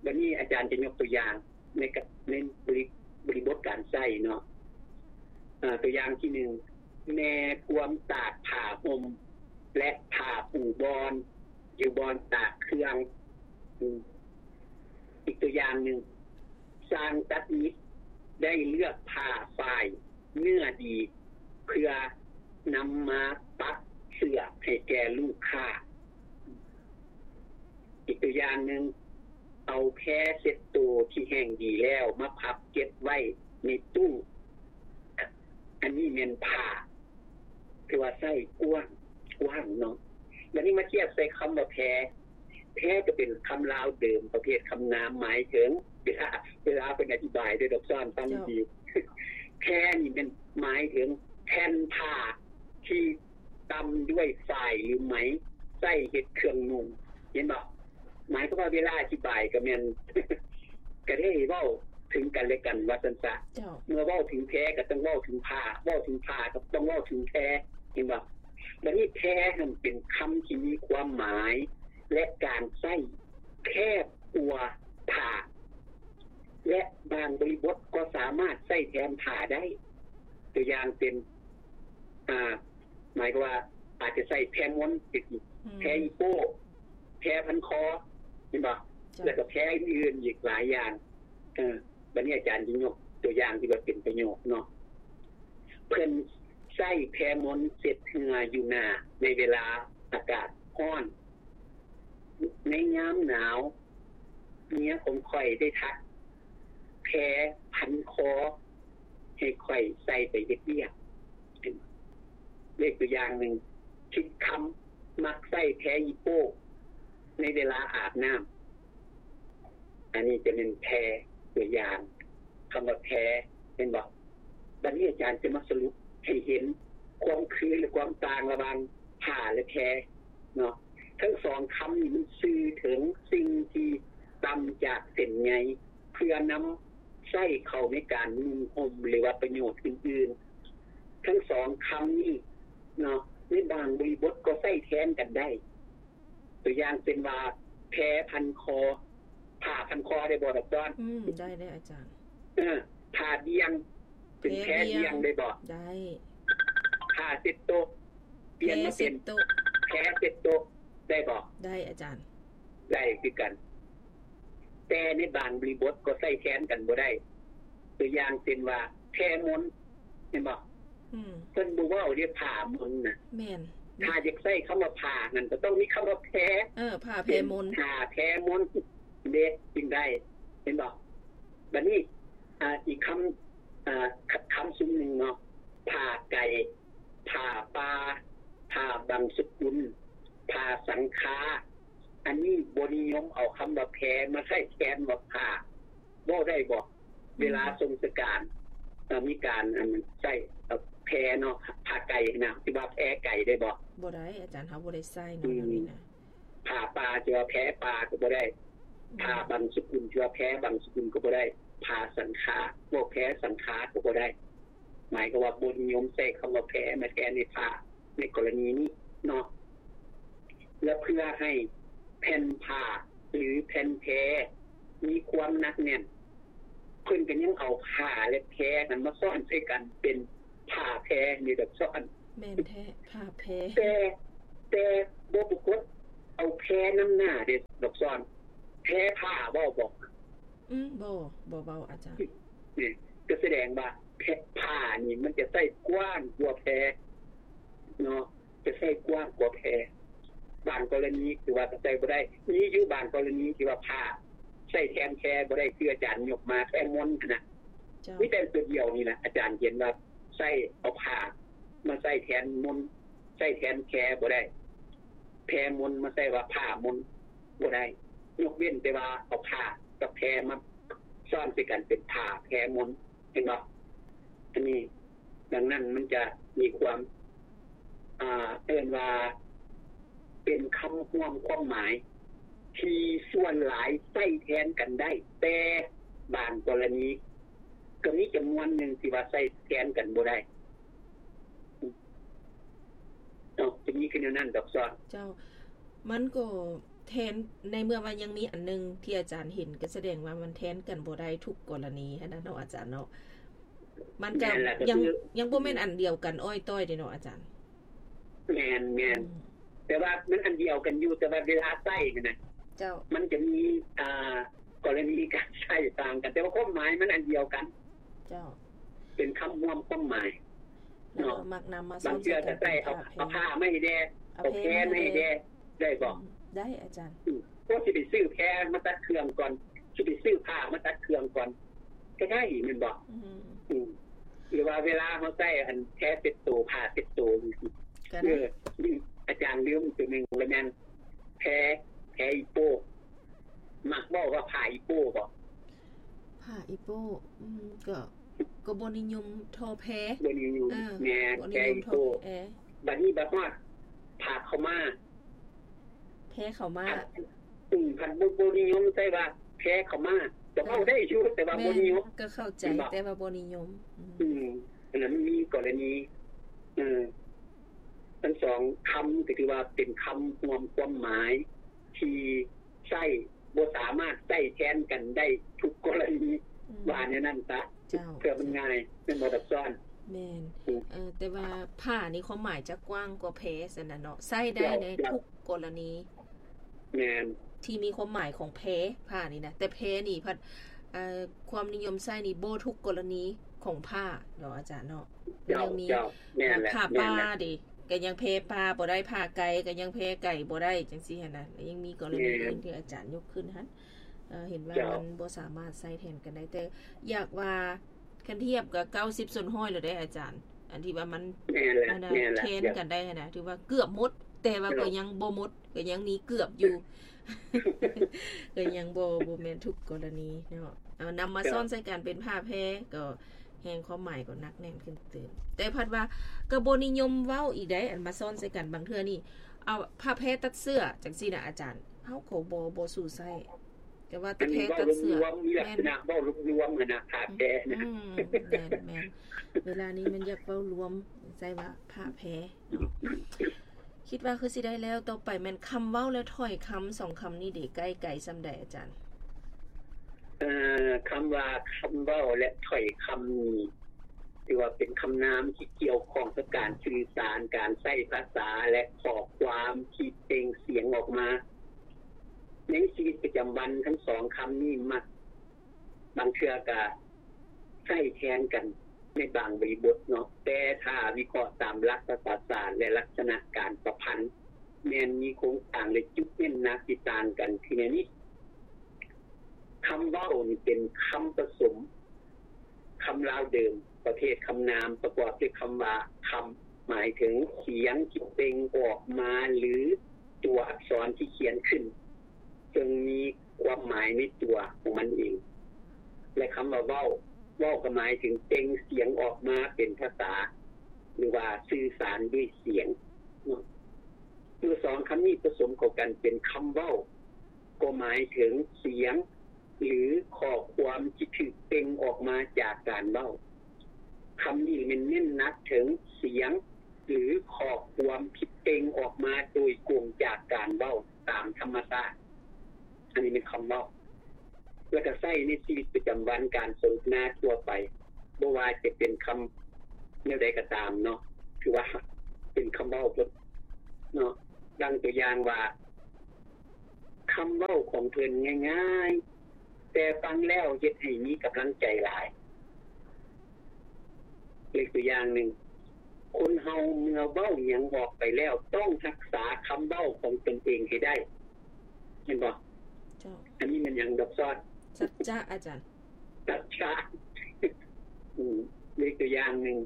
ບັດນີ້ອາຈານຈະຍົກຕົວຢ່າງໃນ ໃນບໍລິ ບໍລິບົດການໃຊ້ເນາະ. ເອີ ຕົວຢ່າງທີໜຶ່ງ ແມ່ພວມຕາກຜ້າຫົ່ມ ແລະ ຜ້າປູບອນ ຢູ່ບ່ອນຕາກເຄື່ອງ. ອືມ ອີກຕົວຢ່າງໜຶ່ງ ຊ່າງຕັດຫຍິບໄດ້ເລືອກຜ້າຝ້າຍເນື້ອດີ ເພື່ອນຳມາປັກເສື້ອໃຫ້ແກ່ລູກຄ້າ. ອີກຕົວຢ່າງໜຶ່ງ ເອົາແພເຊັດໂຕທີ່ແຫ້ງດີແລ້ວມາພັບເກັບໄວ້ໃນຕູ້. ອັນນີ້ແມ່ນຜ້າ ຖືວ່າໃຊ້ກວ້າງ ກວ້າງເນາະ. ບັດນີ້ມາທຽບໃສ່ຄຳວ່າແພ. ແພກໍເປັນຄຳລາວເດີມປະເພດຄຳນາມ ໝາຍເຖິງ ເວລາ ເວລາເພິ່ນອະທິບາຍເດີ ດອກຊອນ ຟັງດີ. ເຈົ້າ. ແພນີ້ແມ່ນໝາຍເຖິງແຜ່ນຜ້າທີ່ຕ່ຳດ້ວຍຝ້າຍ ຫຼື ໄໝ ໃຊ້ເຮັດເຄື່ອງນຸ່ງ ເຫັນບໍ່? ໝາຍຄວາມວ່າເວລາອະທິບາຍກໍແມ່ນ ກໍໄດ້ເວົ້າເຖິງກັນແລະກັນວ່າຊັ້ນຊະ. ເຈົ້າ. ເມື່ອເວົ້າເຖິງແພກໍຕ້ອງເວົ້າເຖິງຜ້າ, ເວົ້າເຖິງຜ້າກໍຕ້ອງເວົ້າເຖິງແພ ເຫັນບໍ່? ບັດນີ້ແພຫັ້ນເປັນຄຳທີ່ມີຄວາມໝາຍ ແລະ ການໃຊ້ແຄບກວ່າຜ້າ ແລະ ບາງບໍລິບົດກໍສາມາດໃຊ້ແທນຜ້າໄດ້. ຕົວຢ່າງເປັນ ອ່າ ໝາຍຄວາມວ່າອາດຈະໃຊ້ແພມົນ ອືມ ແພອີໂປ້ ແພພັນຄໍ ເຫັນບໍ່? ເຈົ້າ. ແລ້ວກໍແພອື່ນໆອີກຫຼາຍຢ່າງ. ເອີ ບັດນີ້ອາຈານຈະຍົກຕົວຢ່າງທີ່ວ່າເປັນປະໂຫຍກເນາະ. ເພິ່ນໃຊ້ແພມົນເຊັດເຫື່ອຢູ່ໜ້າໃນເວລາອາກາດຮ້ອນ. ໃນຍາມໜາວ ເມຍຂອງຂ້ອຍໄດ້ຖັກແພພັນຄໍໃຫ້ຂ້ອຍໃສ່ໄປເຮັດວຽກ. ເປັນເລກຕົວຢ່າງໜຶ່ງ ຄິດຄຳມັກໃຊ້ແພອີໂປ້ໃນເວລາອາບນ້ຳ. ອັນນີ້ຈະແມ່ນແພ ຕົວຢ່າງຄຳວ່າແພ ເຫັນບໍ່? ບັດນີ້ອາຈານຈະມາສະຫຼຸບໃຫ້ເຫັນຄວາມຄື ແລະ ຄວາມຕ່າງລະຫວ່າງຜ້າ ແລະ ແພເນາະ. ທັງສອງຄຳນີ້ມັນສື່ເຖິງສິ່ງທີ່ຕ່ຳຈາກເສັ້ນໃຍ ເພື່ອນຳໃຊ້ເຂົ້າໃນການນຸ່ງຫົ່ມ ຫຼືວ່າປະໂຫຍດອື່ນໆ. ທັງສອງຄຳນີ້ເນາະ ໃນບາງບໍລິບົດກໍໃຊ້ແທນກັນໄດ້. ຕົວຢ່າງເຊັ່ນວ່າ ແພພັນຄໍ ຜ້າພັນຄໍໄດ້ບໍ່ ດອກດອນ? ອືມ ໄດ້ເດ້ອາຈານ. ເອີ ຜ້າບ່ຽງ ເປັນແພບ່ຽງໄດ້ບໍ່? ໄດ້. ຜ້າເຊັດໂຕະ ປ່ຽນມາເປັນແພເຊັດໂຕະ ແພເຊັດໂຕະ ໄດ້ບໍ່? ໄດ້ອາຈານ. ໄດ້ຄືກັນ. ແຕ່ໃນບາງບໍລິບົດກໍໃຊ້ແທນກັນບໍ່ໄດ້. ຕົວຢ່າງເຊັ່ນວ່າ ແພມົນ ແມ່ນບໍ່? ອືມ ເພິ່ນບໍ່ເວົ້າເດ້ ຜ້າມົນນະ. ແມ່ນ. ຖ້າຢາກໃຊ້ຄຳວ່າຜ້ານັ້ນ ກໍຕ້ອງມີຄຳວ່າແພ. ເອີ ຜ້າແພມົນ ເປັນຜ້າແພມົນເດ້ ຈຶ່ງໄດ້ ເຫັນບໍ່? ບັດນີ້ ອ່າ ອີກຄຳ ອ່າ ຄ- ຄຳຊຸມໜຶ່ງເນາະ ຜ້າໄກ່ ຜ້າປ່າ ຜ້າບັງສະກຸນ ຜ້າສັງຄາ. ອັນນີ້ບໍ່ນິຍົມເອົາຄຳວ່າແພມາໃຊ້ແທນວ່າຜ້າ. ເວົ້າໄດ້ບໍ່? ອືມ ເວລາຊົງສະການ ເອີ ມີການ ອັນ ໃຊ້ ເອີ ແພເນາະ ຜ້າໄກ່ນະ ຊິວ່າແພໄກ່ໄດ້ບໍ່? ບໍ່ໄດ້ອາຈານ, ເຮົາບໍ່ໄດ້ໃຊ້ເນາະ ອືມ ແນວນີ້ນະ. ຜ້າປ່າຊິວ່າແພປ່າກໍບໍ່ໄດ້. ອືມ ຜ້າບັງສະກຸນຊິວ່າແພບັງສະກຸນກໍບໍ່ໄດ້. ຜ້າສັງຂາ ເວົ້າແພສັງຂາກໍບໍ່ໄດ້. ໝາຍຄວາມວ່າບໍ່ນິຍົມໃຊ້ຄຳວ່າແພມາແທນໃຫ້ຜ້າ ໃນກໍລະນີນີ້ເນາະ. ແລະ ເພື່ອໃຫ້ແຜ່ນຜ້າ ຫຼື ແຜ່ນແພມີຄວາມໜັກແໜ້ນ, ເພິ່ນກໍຍັງເອົາຜ້າ ແລະ ແພນັ້ນມາຊ້ອນໃສ່ກັນເປັນຜ້າແພນີ້ດອກຊອນ. ແມ່ນແທ້ ຜ້າແພ. ແຕ່ ແຕ່ບໍ່ປາກົດເອົາແພນຳໜ້າເດ້ ດອກຊອນ. ແພຜ້າເວົ້າບໍ່? ອືມ ບໍ່ ບໍ່ເວົ້າອາຈານ. ນີ້ ກໍສະແດງວ່າແພ ຜ້ານີ້ມັນຈະໃຊ້ກວ້າງກວ່າແພເນາະ, ຈະໃຊ້ກວ້າງກວ່າແພ. ບາງກໍລະນີຄືວ່າກໍໃຊ້ບໍ່ໄດ້. ມີຢູ່ບາງກໍລະນີທີ່ວ່າຜ້າໃຊ້ແທນແພບໍ່ໄດ້ ຄືອາຈານຍົກມາແພມົນຫັ້ນນະ. ເຈົ້າ. ມີແຕ່ຕົວດຽວນີ້ແຫຼະ ອາຈານເຫັນວ່າໃຊ້ ເອົາຜ້າມາໃຊ້ແທນມົນ ໃຊ້ແທນແພບໍ່ໄດ້. ແພມົນມາໃຊ້ວ່າຜ້າມົນບໍ່ໄດ້ ຍົກເວັ້ນແຕ່ວ່າເອົາຜ້າກັບແພມາຊ້ອນໃສ່ກັນເປັນຜ້າແພມົນ ເຫັນບໍ່? ອັນນີ້ ດັ່ງນັ້ນມັນຈະມີຄວາມ ອ່າ ເອີ້ນວ່າເປັນຄຳຮ່ວມຄວາມໝາຍທີ່ສ່ວນຫຼາຍໃຊ້ແທນກັນໄດ້, ແຕ່ບາງກໍລະນີກໍມີຈຳນວນໜຶ່ງທີ່ວ່າໃຊ້ແທນກັນບໍ່ໄດ້. ເນາະ ຈະມີຄືແນວນັ້ນດອກຊອນ. ເຈົ້າ ມັນກໍແທນ ໃນເມື່ອວ່າຍັງມີອັນໜຶ່ງທີ່ອາຈານເຫັນ ກໍສະແດງວ່າມັນແທນກັນບໍ່ໄດ້ທຸກກໍລະນີຫັ້ນນະເນາະ ອາຈານເນາະ. ມັນກໍ ແມ່ນລະ ກໍ ຍັງ ຄື ຍັງບໍ່ແມ່ນອັນດຽວກັນອ້ອຍຕ້ອຍເດ້ເນາະອາຈານ. ແມ່ນໆ ອືມ ແຕ່ວ່າມັນອັນດຽວກັນຢູ່ ແຕ່ວ່າເວລາໃຊ້ຫັ້ນນະ ເຈົ້າ ມັນຈະມີ ອ່າ ກໍລະນີການໃຊ້ຕ່າງກັນ ແຕ່ວ່າຄວາມໝາຍມັນອັນດຽວກັນ. ເຈົ້າ ເປັນຄຳຮ່ວມຄວາມໝາຍເນາະ. ແລ້ວມັກນຳມາ ບາງເທື່ອກໍໃຊ້ ເອົາ ເອົາຜ້າມາໃຫ້ແດ່ ເອົາແພມາໃຫ້ແດ່ ໄດ້ບໍ່? ອືມ ໄດ້ອາຈານ. ອືມ ພວກຊິໄປຊື້ແພມາຕັດເຄື່ອງກ່ອນ ຊິໄປຊື້ຜ້າມາຕັດເຄື່ອງກ່ອນ ກໍໄດ້ແມ່ນບໍ່? ອືມ ອືມ ຫຼືວ່າເວລາເຮົາໃຊ້ອັນແພເຊັດໂຕ ຜ້າເຊັດໂຕ ກໍໄດ້. ເອີ ອາຈານລືມຕົວໜຶ່ງລະແມ່ນ ແພ ແພອີໂປ້. ມັກເວົ້າວ່າຜ້າອີໂປ້ບໍ່? ຜ້າອີໂປ້ ອືມ ກໍ ກໍບໍ່ນິຍົມທໍ່ແພ. ບໍ່ນິຍົມ. ເອີ ແມ່ນ ບໍ່ນິຍົມທໍ່ແພ. ແພອີໂປ້. ບັດນີ້ບັດຮອດຜ້າເຂົ້າມາ ແພເຂົ້າມາ ອືມ ພັດບໍ່ ບໍ່ນິຍົມໃຊ້ວ່າແພເຂົ້າມາ. ກໍເວົ້າໄດ້ຢູ່ ແຕ່ວ່າບໍ່ນິຍົມ. ແມ່ນ ກໍເຂົ້າໃຈ ແຕ່ວ່າບໍ່ນິຍົມ. ອືມ ອືມ ອັນນັ້ນມີກໍລະນີ ເອີ ທັງສອງຄຳກໍຖືວ່າເປັນຄຳຮ່ວມຄວາມໝາຍທີ່ ໃຊ້ ບໍ່ສາມາດໃຊ້ແທນກັນໄດ້ທຸກກໍລະນີ. ອືມ ວ່າແນວນັ້ນຊະ. ເຈົ້າ ເພື່ອມັນງ່າຍ ແມ່ນບໍ່ດອກຊອນ? ແມ່ນ. ອືມ ເອີ ແຕ່ວ່າຜ້ານີ້ຄວາມໝາຍຈະກວ້າງກວ່າແພຊັ້ນນະເນາະ ໃຊ້ໄດ້ໃນ ເຈົ້າ ທຸກກໍລະນີ. ແມ່ນ. ທີ່ມີຄວາມໝາຍຂອງແພ ຜ້ານີ້ນະ ແຕ່ແພນີ້ພັດ ເອີ ຄວາມນິຍົມໃຊ້ນີ້ບໍ່ທຸກກໍລະນີຂອງຜ້າເນາະອາຈານເນາະ. ເຈົ້າ ຍັງມີ ເຈົ້າ ແມ່ນແຫຼະ ຜ້າປ່າເດ ກໍຍັງແພປ່າບໍ່ໄດ້ ຜ້າໄກ່ກໍຍັງແພໄກ່ບໍ່ໄດ້ ຈັ່ງຊີ້ຫັ້ນນະ. ແລ້ວຍັງມີກໍລະນີ ແມ່ນ ອື່ນທີ່ອາຈານຍົກຂຶ້ນຫັ້ນ ເອີ ເຫັນວ່າ ເຈົ້າ ມັນບໍ່ສາມາດໃຊ້ແທນກັນໄດ້ ແຕ່ຢາກວ່າ ຄັນທຽບກໍເກົ້າສິບສ່ວນຮ້ອຍແລ້ວເດ້ອາຈານ ອັນທີ່ວ່າມັນ ແມ່ນແຫຼະ ອັນນະ ແມ່ນແຫຼະ ແທນກັນໄດ້ຫັ້ນນະ ຖືວ່າເກືອບໝົດ ແຕ່ວ່າ ເຈົ້າ ກໍຍັງບໍ່ໝົດ ກໍຍັງມີເກືອບຢູ່ ກໍຍັງບໍ່ ບໍ່ແມ່ນທຸກກໍລະນີເນາະ. ເອົານຳມາ ເຈົ້າ ຊ້ອນໃສ່ກັນເປັນຜ້າແພ ກໍແຮ່ງຄວາມໝາຍກໍໜັກແໜ້ນຂຶ້ນຕື່ມ. ແຕ່ພັດວ່າກໍບໍ່ນິຍົມເວົ້າອີກໃດ໋ ອັນມາຊ້ອນໃສ່ກັນ ບາງເທື່ອນີ້ ເອົາຜ້າແພຕັດເສື້ອ ຈັ່ງຊີ້ນະອາຈານ ເຮົາກໍບໍ່ ບໍ່ສູ້ໃຊ້ ແຕ່ວ່າແຕ່ແພຕັດເສື້ອ ອັນນີ້ເວົ້າລວມໆ ມີລັກສະນະເວົ້າລວມໆ ຫັ້ນນະ ຜ້າແພນະ. ອືມ ແມ່ນໆ ເວລານີ້ມັນຢາກເວົ້າລວມ ໃຊ້ວ່າຜ້າແພເນາະ. ຄິດວ່າຄືຊິໄດ້ແລ້ວ ຕໍ່ໄປແມ່ນຄຳເວົ້າ ແລະ ຖ້ອຍຄຳ ສອງຄຳນີ້ເດ ໃກ້ໄກສ່ຳໃດອາຈານ? ເອີ ຄຳວ່າຄຳເວົ້າ ແລະ ຖ້ອຍຄຳນີ້ ຖືວ່າເປັນຄຳນາມທີ່ກ່ຽວຂ້ອງກັບການສື່ສານ, ການໃຊ້ພາສາ ແລະ ຂໍ້ຄວາມທີ່ເປັ່ງສຽງອອກມາ. ໃນຊີວິດປະຈຳວັນ ທັງສອງຄຳນີ້ມັກ ບາງເທື່ອກະໃຊ້ແທນກັນໃນບາງບໍລິບົດເນາະ, ແຕ່ຖ້າວິເຄາະຕາມຫຼັກພາສາສາດ ແລະ ລັກສະນະການປະພັນ ແມ່ນມີໂຄງສ້າງ ແລະ ຈຸດເນັ້ນໜັກທີ່ຕ່າງກັນຄືແນວນີ້. ຄຳເວົ້ານີ້ເປັນຄຳປະສົມ ຄຳລາວເດີມປະເພດຄຳນາມ ປະກອບດ້ວຍຄຳວ່າ ຄຳ ໝາຍເຖິງສຽງທີ່ເປັ່ງອອກມາ ຫຼື ຕົວອັກສອນທີ່ຂຽນຂຶ້ນ ເຊິ່ງມີຄວາມໝາຍໃນຕົວຂອງມັນເອງ. ແລະ ຄຳວ່າເວົ້າ, ເວົ້າກໍໝາຍເຖິງເປັ່ງສຽງອອກມາເປັນພາສາ ຫຼືວ່າສື່ສານດ້ວຍສຽງເນາະ. ເມື່ອສອງຄຳນີ້ປະສົມເຂົ້າກັນເປັນຄຳເວົ້າ ກໍໝາຍເຖິງສຽງ ຫຼື ຂໍ້ຄວາມທີ່ຖືກເປັ່ງອອກມາຈາກການເວົ້າ. ຄຳນີ້ແມ່ນເນັ້ນໜັກເຖິງສຽງ ຫຼື ຂໍ້ຄວາມທີ່ເປັ່ງອອກມາໂດຍກົງຈາກການເວົ້າຕາມທຳມະຊາດ. ອັນນີ້ແມ່ນຄຳເວົ້າ. ແລ້ວກໍໃຊ້ໃນຊີວິດປະຈຳວັນ ການສົນທະນາທົ່ວໄປ ບໍ່ວ່າຈະເປັນຄຳແນວໃດກໍຕາມເນາະ ຖືວ່າເປັນຄຳເວົ້າເບິດເນາະ. ດັ່ງຕົວຢ່າງວ່າ ຄຳເວົ້າຂອງເພິ່ນງ່າຍໆ ແຕ່ຟັງແລ້ວເຮັດໃຫ້ມີກຳລັງໃຈຫຼາຍ. ເປັນຕົວຢ່າງໜຶ່ງ, ຄົນເຮົາເມື່ອເວົ້າຫຍັງອອກໄປແລ້ວ ຕ້ອງຮັກສາຄຳເວົ້າຂອງຕົນເອງໃຫ້ໄດ້. ເຫັນບໍ່? ເຈົ້າ. ອັນນີ້ແມ່ນຫຍັງດອກຊອນ? ສັດຈະ ອາຈານ. ສັດຈະ. ອືມ, ເປັນຕົວຢ່າງໜຶ່ງ,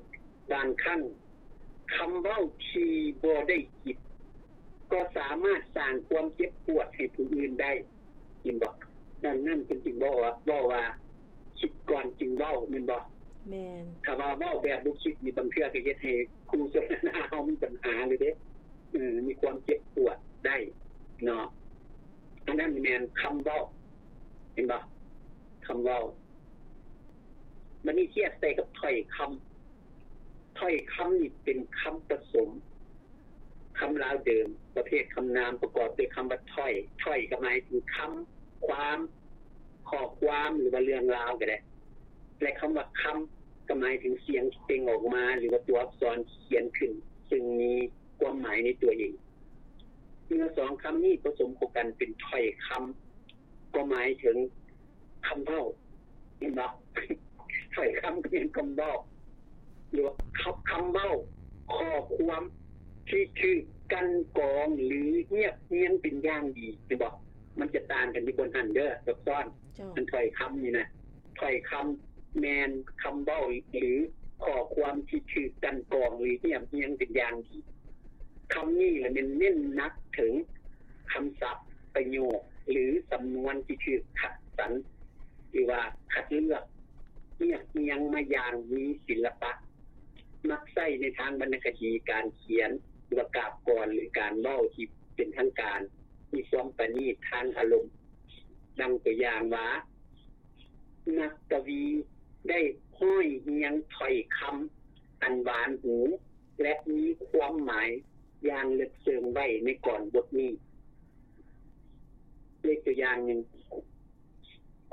ບາງຄັ້ງ ຄຳເວົ້າທີ່ບໍ່ໄດ້ຄິດ ກໍສາມາດສ້າງຄວາມເຈັບປວດໃຫ້ຜູ້ອື່ນໄດ້. ເຫັນບໍ່? ດັ່ງນັ້ນເພິ່ນຈຶ່ງເວົ້າວ່າ ເວົ້າວ່າ ຄິດກ່ອນຈຶ່ງເວົ້າ, ແມ່ນບໍ່? ແມ່ນ. ຖ້າວ່າເວົ້າແບບບໍ່ຄິດນີ້ ບາງເທື່ອກໍເຮັດໃຫ້ຄູ່ສົນທະນາເຮົາມີບັນຫາເລີຍເດ້. ເອີ, ມີຄວາມເຈັບປວດໄດ້ເນາະ. ອັນນັ້ນແມ່ນຄຳເວົ້າ, ເຫັນບໍ່? ຄຳເວົ້າ. ບັດນີ້ທຽບໃສ່ກັບຖ້ອຍຄຳ. ຖ້ອຍຄຳນີ້ເປັນຄຳປະສົມ ຄຳລາວເດີມ ປະເພດຄຳນາມປະກອບດ້ວຍຄຳວ່າຖ້ອຍ. ຖ້ອຍກໍໝາຍເຖິງຄຳ, ຄວາມ, ຂໍ້ຄວາມ ຫຼືວ່າເລື່ອງລາວກໍໄດ້ ແລະ ຄຳວ່າຄຳກໍໝາຍເຖິງສຽງທີ່ເປັ່ງອອກມາ ຫຼືວ່າຕົວອັກສອນທີ່ຂຽນຂຶ້ນ ຊຶ່ງມີຄວາມໝາຍໃນຕົວເອງ. ເມື່ອສອງຄຳນີ້ປະສົມເຂົ້າກັນເປັນຖ້ອຍຄຳ ກໍໝາຍເຖິງ ຄຳເວົ້າ, ເຫັນບໍ່? ຖ້ອຍຄຳກໍແມ່ນຄຳເວົ້າ ຫຼືວ່າຄຳ, ຄຳເວົ້າ, ຂໍ້ຄວາມທີ່ຖືກກັ່ນກອງ ຫຼື ຮຽບຮຽງເປັນຢ່າງດີ, ເຫັນບໍ່? ມັນຈະຕ່າງກັນຢູ່ບ່ອນຫັ້ນເດີ ດອກຊອນ. ເຈົ້າ. ອັນຖ້ອຍຄຳນີ້ນະ, ຖ້ອຍຄຳແມ່ນຄຳເວົ້າ ຫຼື ຂໍ້ຄວາມທີ່ຖືກກັ່ນກອງ ຫຼື ຮຽບຮຽງເປັນຢ່າງດີ. ຄຳນີ້ລະແມ່ນເນັ້ນໜັກເຖິງຄຳສັບ, ປະໂຫຍກ ຫຼື ສຳນວນທີ່ຖືກຄັດສັນ ຫຼືວ່າຄັດເລືອກຮຽບຮຽງມາຢ່າງມີສິລະປະ, ມັກໃຊ້ໃນທາງວັນນະຄະດີການຂຽນ ຫຼືວ່າກາບກອນ ຫຼືການເວົ້າທີ່ເປັນທາງການ, ມີຄວາມປະນີດທາງອາລົມ. ດັ່ງຕົວຢ່າງວ່າ ນັກກະວີໄດ້ຮ້ອຍຮຽງຖ້ອຍຄຳອັນຫວານຫູ ແລະ ມີຄວາມໝາຍຢ່າງເລິກເຊິ່ງໄວ້ໃນກອນບົດນີ້. ເປັນຕົວຢ່າງໜຶ່ງ,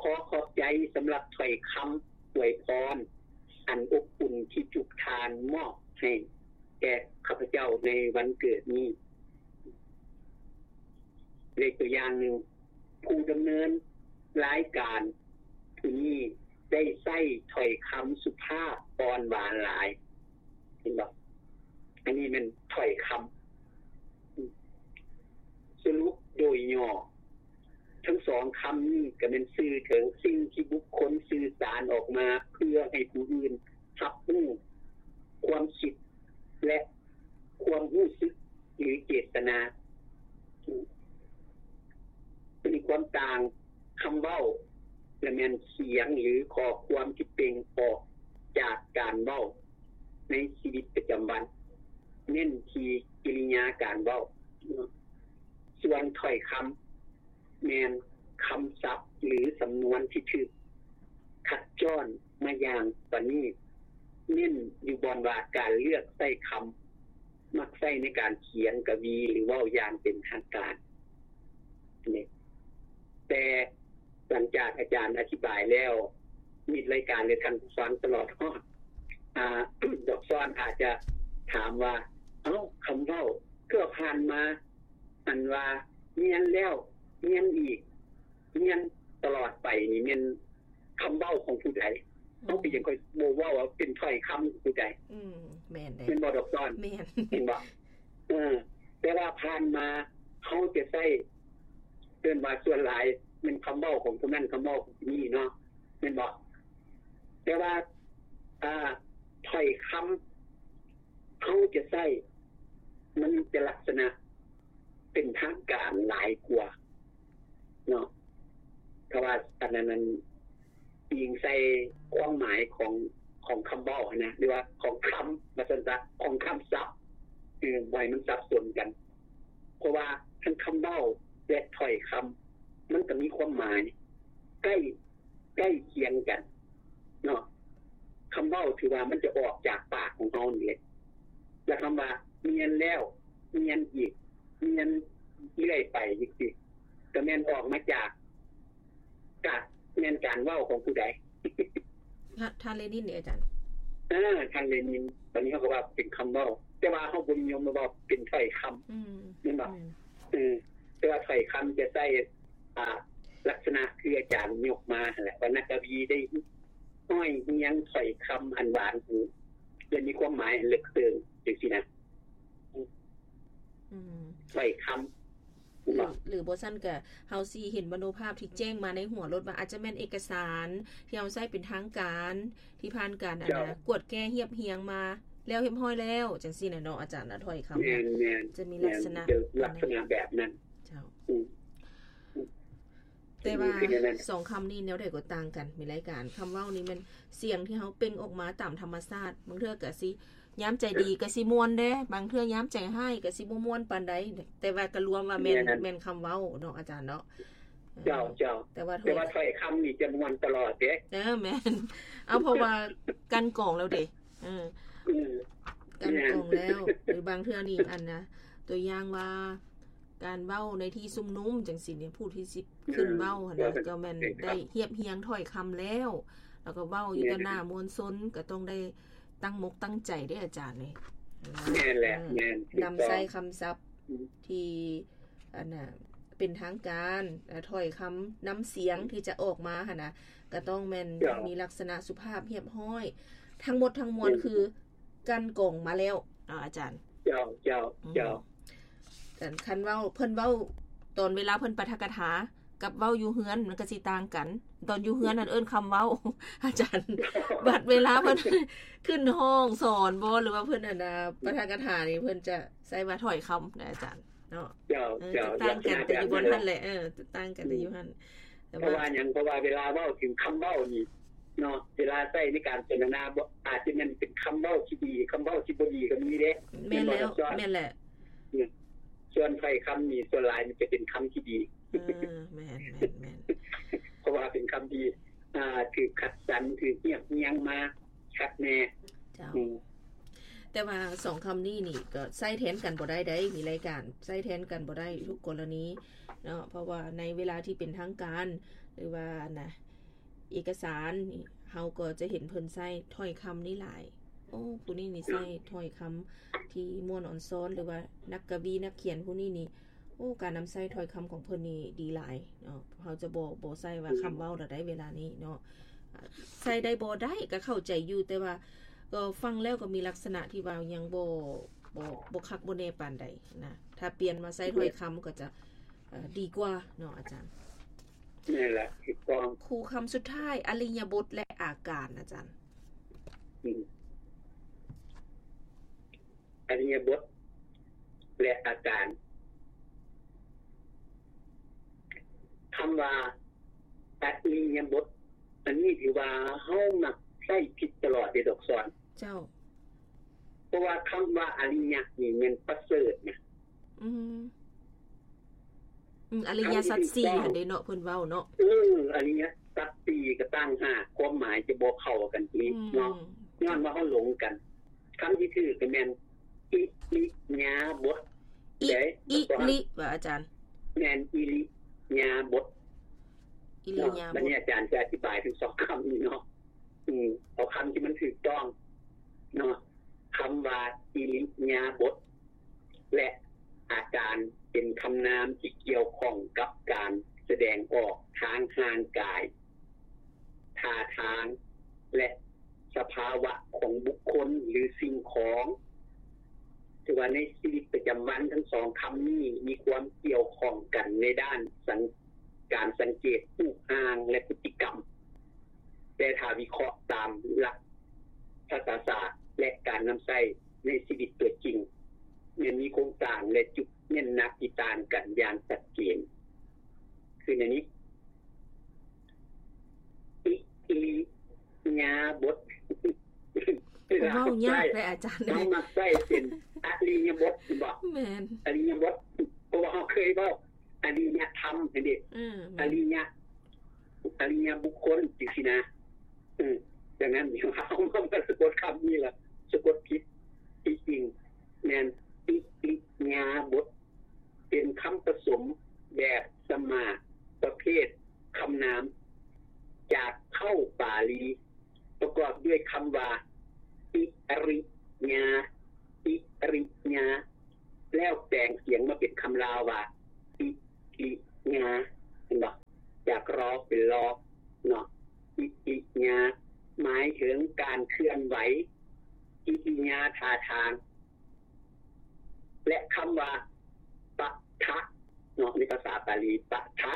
ຂໍຂອບໃຈສຳລັບຖ້ອຍຄຳອວຍພອນອັນອົບອຸ່ນທີ່ທຸກທ່ານມອບໃຫ້ແກ່ຂ້າພະເຈົ້າໃນວັນເກີດນີ້. ເປັນຕົວຢ່າງໜຶ່ງ, ຜູ້ດຳເນີນລາຍການຜູ້ນີ້ໄດ້ໃຊ້ຖ້ອຍຄຳສຸພາບອ່ອນຫວານຫຼາຍ. ເຫັນບໍ່? ອັນນີ້ແມ່ນຖ້ອຍຄຳ. ສະຫຼຸບໂດຍຫຍໍ້, ທັງສອງຄຳນີ້ກໍແມ່ນສື່ເຖິງສິ່ງທີ່ບຸກຄົນສື່ສານອອກມາເພື່ອໃຫ້ຜູ້ອື່ນຮັບຮູ້ຄວາມຄິດ ແລະ ຄວາມຮູ້ສຶກ ຫຼື ເຈດຕະນາ. ມີຄວາມຕ່າງ, ຄຳເວົ້າລະແມ່ນສຽງ ຫຼື ຂໍ້ຄວາມທີ່ເປັ່ງອອກຈາກການເວົ້າໃນຊີວິດປະຈຳວັນ, ເນັ້ນທີ່ກິລິຍາການເວົ້າ. ສ່ວນຖ້ອຍຄຳ ແມ່ນຄຳສັບ ຫຼື ສຳນວນທີ່ຖືກຄັດຈ້ອນມາຢ່າງປະນີດ, ເນັ້ນຢູ່ບ່ອນວ່າການເລືອກໃຊ້ຄຳ ມັກໃຊ້ໃນການຂຽນກະວີ ຫຼື ເວົ້າຢ່າງເປັນທາງການ. ແຕ່ຫຼັງຈາກອາຈານອະທິບາຍແລ້ວ, ມິດລາຍການ ແລະ ທ່ານຜູ້ຟັງຕະຫຼອດຮອດ, ອາ, ດອກຊອນອາດຈະຖາມວ່າ, ເອົ້າ, ຄຳເວົ້າເກືອບຜ່ານມາ ອັນວ່າຮຽນແລ້ວຮຽນອີກ, ຮຽນຕະຫຼອດໄປນີ້ແມ່ນຄຳເວົ້າຂອງຜູ້ໃດ? ອືມ ເຮົາກໍຍັງຄ່ອຍບໍ່ເວົ້າວ່າເປັນຖ້ອຍຄຳຂອງຜູ້ໃດ. ອືມ ແມ່ນເດ້ ແມ່ນບໍ່ດອກຊອນ? ແມ່ນ ແມ່ນບໍ່? ເອີ ແຕ່ວ່າຜ່ານມາເຮົາຈະໃຊ້ ເອີ້ນວ່າສ່ວນຫຼາຍແມ່ນຄຳເວົ້າຂອງຜູ້ນັ້ນ ຄຳເວົ້າຂອງຜູ້ນີ້ເນາະ ແມ່ນບໍ່? ແຕ່ວ່າ ອ່າ ຖ້ອຍຄຳ ເຮົາຈະໃຊ້ ມັນຈະລັກສະນະເປັນທາງການຫຼາຍກວ່າເນາະ ເພາະວ່າອັນນັ້ນ ອັນ ອີງໃສ່ຄວາມໝາຍຂອງ ຂອງຄຳເວົ້າຫັ້ນນະ ຫຼືວ່າຂອງຄຳ ວ່າຊັ້ນຊະ ຂອງຄຳສັບ ເອີ ບໍ່ໃຫ້ມັນສັບສົນກັນ ເພາະວ່າທັງຄຳເວົ້າ ແລະ ຖ້ອຍຄຳ ມັນກໍມີຄວາມໝາຍໃກ້ ໃກ້ຄຽງກັນເນາະ. ຄຳເວົ້າຖືວ່າມັນຈະອອກຈາກປາກຂອງເຮົານີ້ແຫຼະ ແລະ ຄຳວ່າຮຽນແລ້ວຮຽນອີກ ຮຽນເລື້ອຍໄປຈັ່ງຊີ້ ກໍແມ່ນອອກມາຈາກ ກະແມ່ນການເວົ້າຂອງຜູ້ໃດ? ທ່ານ ທ່ານເລນິນເດ ອາຈານ? ເອີ ທ່ານເລນິນ. ບັດນີ້ເຮົາກໍວ່າເປັນຄຳເວົ້າ ແ ຕ່ວ່າເຮົາບໍ່ນິຍົມເວົ້າເປັນຖ້ອຍຄຳ ອືມ ແມ່ນບໍ່? ອືມ ເອີ ແຕ່ວ່າຖ້ອຍຄຳຈະໃຊ້ ອ່າ ລັກສະນະຄືອາຈານຍົກມາຫັ້ນແຫຼະ ວ່ານັກກະວີໄດ້ຮ້ອຍຮຽງຖ້ອຍຄຳອັນຫວານຫູ ແລະ ມີຄວາມໝາຍອັນເລິກເຊິ່ງ ຈັ່ງຊີ້ນະ. ອືມ ຖ້ອຍຄຳ ຫຼື ຫຼື ບໍ່ຊັ້ນກະເຮົາຊິເຫັນມະໂນພາບທີ່ແຈ້ງມາໃນຫົວໂລດວ່າ ອາດຈະແມ່ນເອກະສານທີ່ເຮົາໃຊ້ເປັນທາງການ ທີ່ຜ່ານການ ອັນນະ ເຈົ້າ ກວດແກ້ຮຽບຮຽງມາແລ້ວຮຽບຮ້ອຍແລ້ວ ຈັ່ງຊີ້ນະເນາະອາຈານນະ ຖ້ອຍຄຳ ແມ່ນໆ ຈະມີລັກສະນະ ແມ່ນ ເປັນລັກສະນະແບບນັ້ນ ເຈົ້າ ອືມ ແຕ່ວ່າ ເປັນແນວນັ້ນ ສອງຄຳນີ້ແນວໃດກໍຕ່າງກັນ ມີລາຍການ ຄຳເວົ້ານີ້ແມ່ນສຽງທີ່ເຮົາເປັ່ງອອກມາຕາມທຳມະຊາດ ບາງເທື່ອກະຊິ ຍາມໃຈດີກະຊິມ່ວນແດ່ ບາງເທື່ອຍາມໃຈຮ້າຍກະຊິບໍ່ມ່ວນປານໃດ ແຕ່ວ່າກະລວມວ່າແມ່ນ ແມ່ນ ແມ່ນຄຳເວົ້າເນາະອາຈານເນາະ. ເຈົ້າ ເອີ ເຈົ້າ ແຕ່ວ່າ ແຕ່ວ່າຖ້ອຍຄຳນີ້ຈະມ່ວນຕະຫຼອດເດ້. ເອີ ແມ່ນ ເອົາ ເພາະວ່າກັ່ນກອງແລ້ວເດ້. ເອີ ເອີ ກັ່ນກອງແລ້ວ ຫຼືບາງເທື່ອນີ້ ອັນນະ ຕົວຢ່າງວ່າ ການເວົ້າໃນທີ່ຊຸມນຸມຈັ່ງຊີ້ນີ້ ຜູ້ທີ່ຊິຂຶ້ນເວົ້າຫັ້ນນະ ເອີ ກໍແມ່ນ ເອີ ໄດ້ຮຽບຮຽງຖ້ອຍຄຳແລ້ວ ແລ້ວກໍເວົ້າຢູ່ຕໍ່ໜ້າມວນຊົນ ກໍຕ້ອງໄດ້ຕັ້ງມົກຕັ້ງໃຈເດ້ອາຈານເອີຍ. ແມ່ນແຫຼະ ເອີ ແມ່ນ ນຳໃຊ້ຄຳສັບ ອືມ ທີ່ ອັນນ່າ ເປັນທາງການ ແລະ ຖ້ອຍຄຳ ນ້ຳສຽງ ອືມ ທີ່ຈະອອກມາຫັ້ນນະ ກໍຕ້ອງແມ່ນ ເຈົ້າ ມີລັກສະນະສຸພາບຮຽບຮ້ອຍ ທັງໝົດທັງມວນ ອືມ ຄື ກັ່ນກອງມາແລ້ວເນາະອາຈານ. ເຈົ້າ ເຈົ້າ ອືມ ເຈົ້າ ຄັນ ຄັນເວົ້າ ເພິ່ນເວົ້າຕອນເວລາເພິ່ນປາຖະກະຖາ ກັບເວົ້າຢູ່ເຮືອນມັນກໍຊິຕ່າງກັນ. ຕອນຢູ່ເຮືອນນັ້ນເອີ້ນຄຳເວົ້າ ອາຈານ ບັດເວລາເພິ່ນຂຶ້ນຫ້ອງສອນບໍ ຫຼືວ່າເພິ່ນ ອັນນ່າ ປາຖະກະຖານີ້ ເພິ່ນຈະໃຊ້ວ່າຖ້ອຍຄຳນະອາຈານເນາະ. ເຈົ້າ ເອີ ເຈົ້າ ຈະຕ່າງກັນ ແຕ່ຢູ່ບ່ອນຫັ້ນແຫຼະ ເອີ ຈະຕ່າງກັນແຕ່ຢູ່ຫັ້ນ. ເພາະວ່າຫຍັງ? ເພາະວ່າເວລາເວົ້າເຖິງຄຳເວົ້ານີ້ເນາະ ເວລາໃຊ້ໃນການສົນທະນາ ອາດຈະແມ່ນເປັນຄຳເວົ້າທີ່ດີ ຄຳເວົ້າທີ່ບໍ່ດີກໍມີເດ້. ແມ່ນແລ້ວ ແມ່ນແຫຼະ ສ່ວນຖ້ອຍຄຳນີ້ ສ່ວນຫຼາຍມັນຈະເປັນຄຳທີ່ດີ. ເອີ ແມ່ນໆໆ ເພາະວ່າເປັນຄຳທີ່ ອ່າ ຖືກຄັດສັນ ຖືກຮຽບຮຽງມາຄັກແນ່. ເຈົ້າ ອືມ ແຕ່ວ່າສອງຄຳນີ້ນີ້ກໍໃຊ້ແທນກັນບໍ່ໄດ້ໃດ໋ ມີລາຍການ ໃຊ້ແທນກັນບໍ່ໄດ້ທຸກກໍລະນີເນາະ ເພາະວ່າໃນເວລາທີ່ເປັນທາງການ ຫຼືວ່ານະ ເອກະສານນີ້ ເຮົາກໍຈະເຫັນເພິ່ນໃຊ້ຖ້ອຍຄຳນີ້ຫຼາຍ. ໂອ້ ຜູ້ນີ້ນີ້ໃຊ້ຖ້ອຍຄຳທີ່ມ່ວນອອນຊອນ ຫຼືວ່ານັກກະວີນັກຂຽນຜູ້ນີ້ນີ້ ໂອ້ ການນຳໃຊ້ຖ້ອຍຄຳຂອງເພິ່ນນີ້ດີຫຼາຍເນາະ. ເຮົາຈະບໍ່ ບໍ່ໃຊ້ວ່າຄຳເວົ້າແລ້ວໃດ໋ ເວລານີ້ເນາະ ໃຊ້ໄດ້ບໍ່ໄດ້ກໍເຂົ້າໃຈຢູ່ ແຕ່ວ່າກໍຟັງແລ້ວກໍມີລັກສະນະທີ່ວ່າຍັງບໍ່ ບໍ່ ບໍ່ຄັກບໍ່ແນ່ປານໃດນະ. ຖ້າປ່ຽນມາໃຊ້ຖ້ອຍຄຳກໍຈະ ເອີ ດີກວ່າເນາະອາຈານ. ແມ່ນແຫຼະ ຖືກຕ້ອງ. ຄູ່ຄຳສຸດທ້າຍ ອະລິຍະບົດ ແລະ ອາການ ອາຈານ. ອືມ ອະລິຍະບົດ ແລະ ອາການ. ຄຳວ່າ ອະລິຍະບົດ ອັນນີ້ຖືວ່າເຮົາມັກໃຊ້ຜິດຕະຫຼອດເດ້ ດອກສອນ. ເຈົ້າ. ເພາະວ່າຄຳວ່າອະລິຍະນີ້ແມ່ນປະເສີດນະ. ອືມ ອືມ ອະລິຍະສັດສີ່ຫັ້ນເດ້ເນາະ ເພິ່ນເວົ້າເນາະ. ເອີ ອະລິຍະສັດສີ່ກໍຕ່າງຫາກ ຄວາມໝາຍຈະບໍ່ເຂົ້າກັນອີກເນາະ ອືມ ຍ້ອນວ່າເຮົາຫຼົງກັນ. ຄຳທີ່ຖືກກໍແມ່ນ ອິລິຍາບົດ. ອິ ເດ້ ອິລິ ວ່າອາຈານ. ແມ່ນ ອິລິຍາບົດ ອິລິຍາບົດ. ບັດນີ້ອາຈານຈະອະທິບາຍທັງສອງຄຳນີ້ເນາະ. ອືມ ເອົາຄຳທີ່ມັນຖືກຕ້ອງເນາະ. ຄຳວ່າອິລິຍາບົດ ແລະ ອາການ ເປັນຄຳນາມທີ່ກ່ຽວຂ້ອງກັບການສະແດງອອກທາງຮ່າງກາຍ, ທ່າທາງ ແລະ ສະພາວະຂອງບຸກຄົນ ຫຼື ສິ່ງຂອງ. ຖືວ່າໃນຊີວິດປະຈຳວັນ ທັງສອງຄຳນີ້ມີຄວາມກ່ຽວຂ້ອງກັນໃນດ້ານສັງ ການສັງເກດຮູບຮ່າງ ແລະ ພຶດຕິກຳ. ແຕ່ຖ້າວິເຄາະຕາມຫຼັກພາສາສາດ ແລະ ການນຳໃຊ້ໃນຊີວິດຕົວຈິງ ແມ່ນມີໂຄງສ້າງ ແລະ ຈຸດເນັ້ນໜັກທີ່ຕ່າງກັນຢ່າງຊັດເຈນ. ຄືແນວນີ້ ອິລິຍາບົດ. ເວົ້າຍາກເດ້ອາຈານເອີຍ. ເຮົາມັກໃຊ້ເປັນອະລິຍະບົດ ເຫັນບໍ່? ແມ່ນ ອະລິຍະບົດ ເພາະວ່າເຮົາເຄີຍເວົ້າ ອະລິຍະທຳຫັ້ນເດ້. ອືມ ອະລິຍະ ອະລິຍະບຸກຄົນ ຈັ່ງຊີ້ນະ. ເອີ ດັ່ງນັ້ນ ເຮົາມາສະກົດຄຳນີ້ລະ ສະກົດຜິດ. ທີ່ຈິງແມ່ນ ອິລິຍາບົດ ເປັນຄຳປະສົມແບບສະໝາກ ປະເພດຄຳນາມ ຈາກເຄົ້າປາລີ ປະກອບດ້ວຍຄຳວ່າ ອິລິຍາ ອິລິຍາ ແລ້ວແປງສຽງມາເປັນຄຳລາວວ່າ ອິລິຍາ ເຫັນບໍ່? ຈາກ ຣ ເປັນ ລ ເນາະ ອິລິຍາ ໝາຍເຖິງການເຄື່ອນໄຫວ, ກິລິຍາທ່າທາງ. ແລະ ຄຳວ່າ ປະທະ ເນາະ ໃນພາສາບາລີ ປະທະ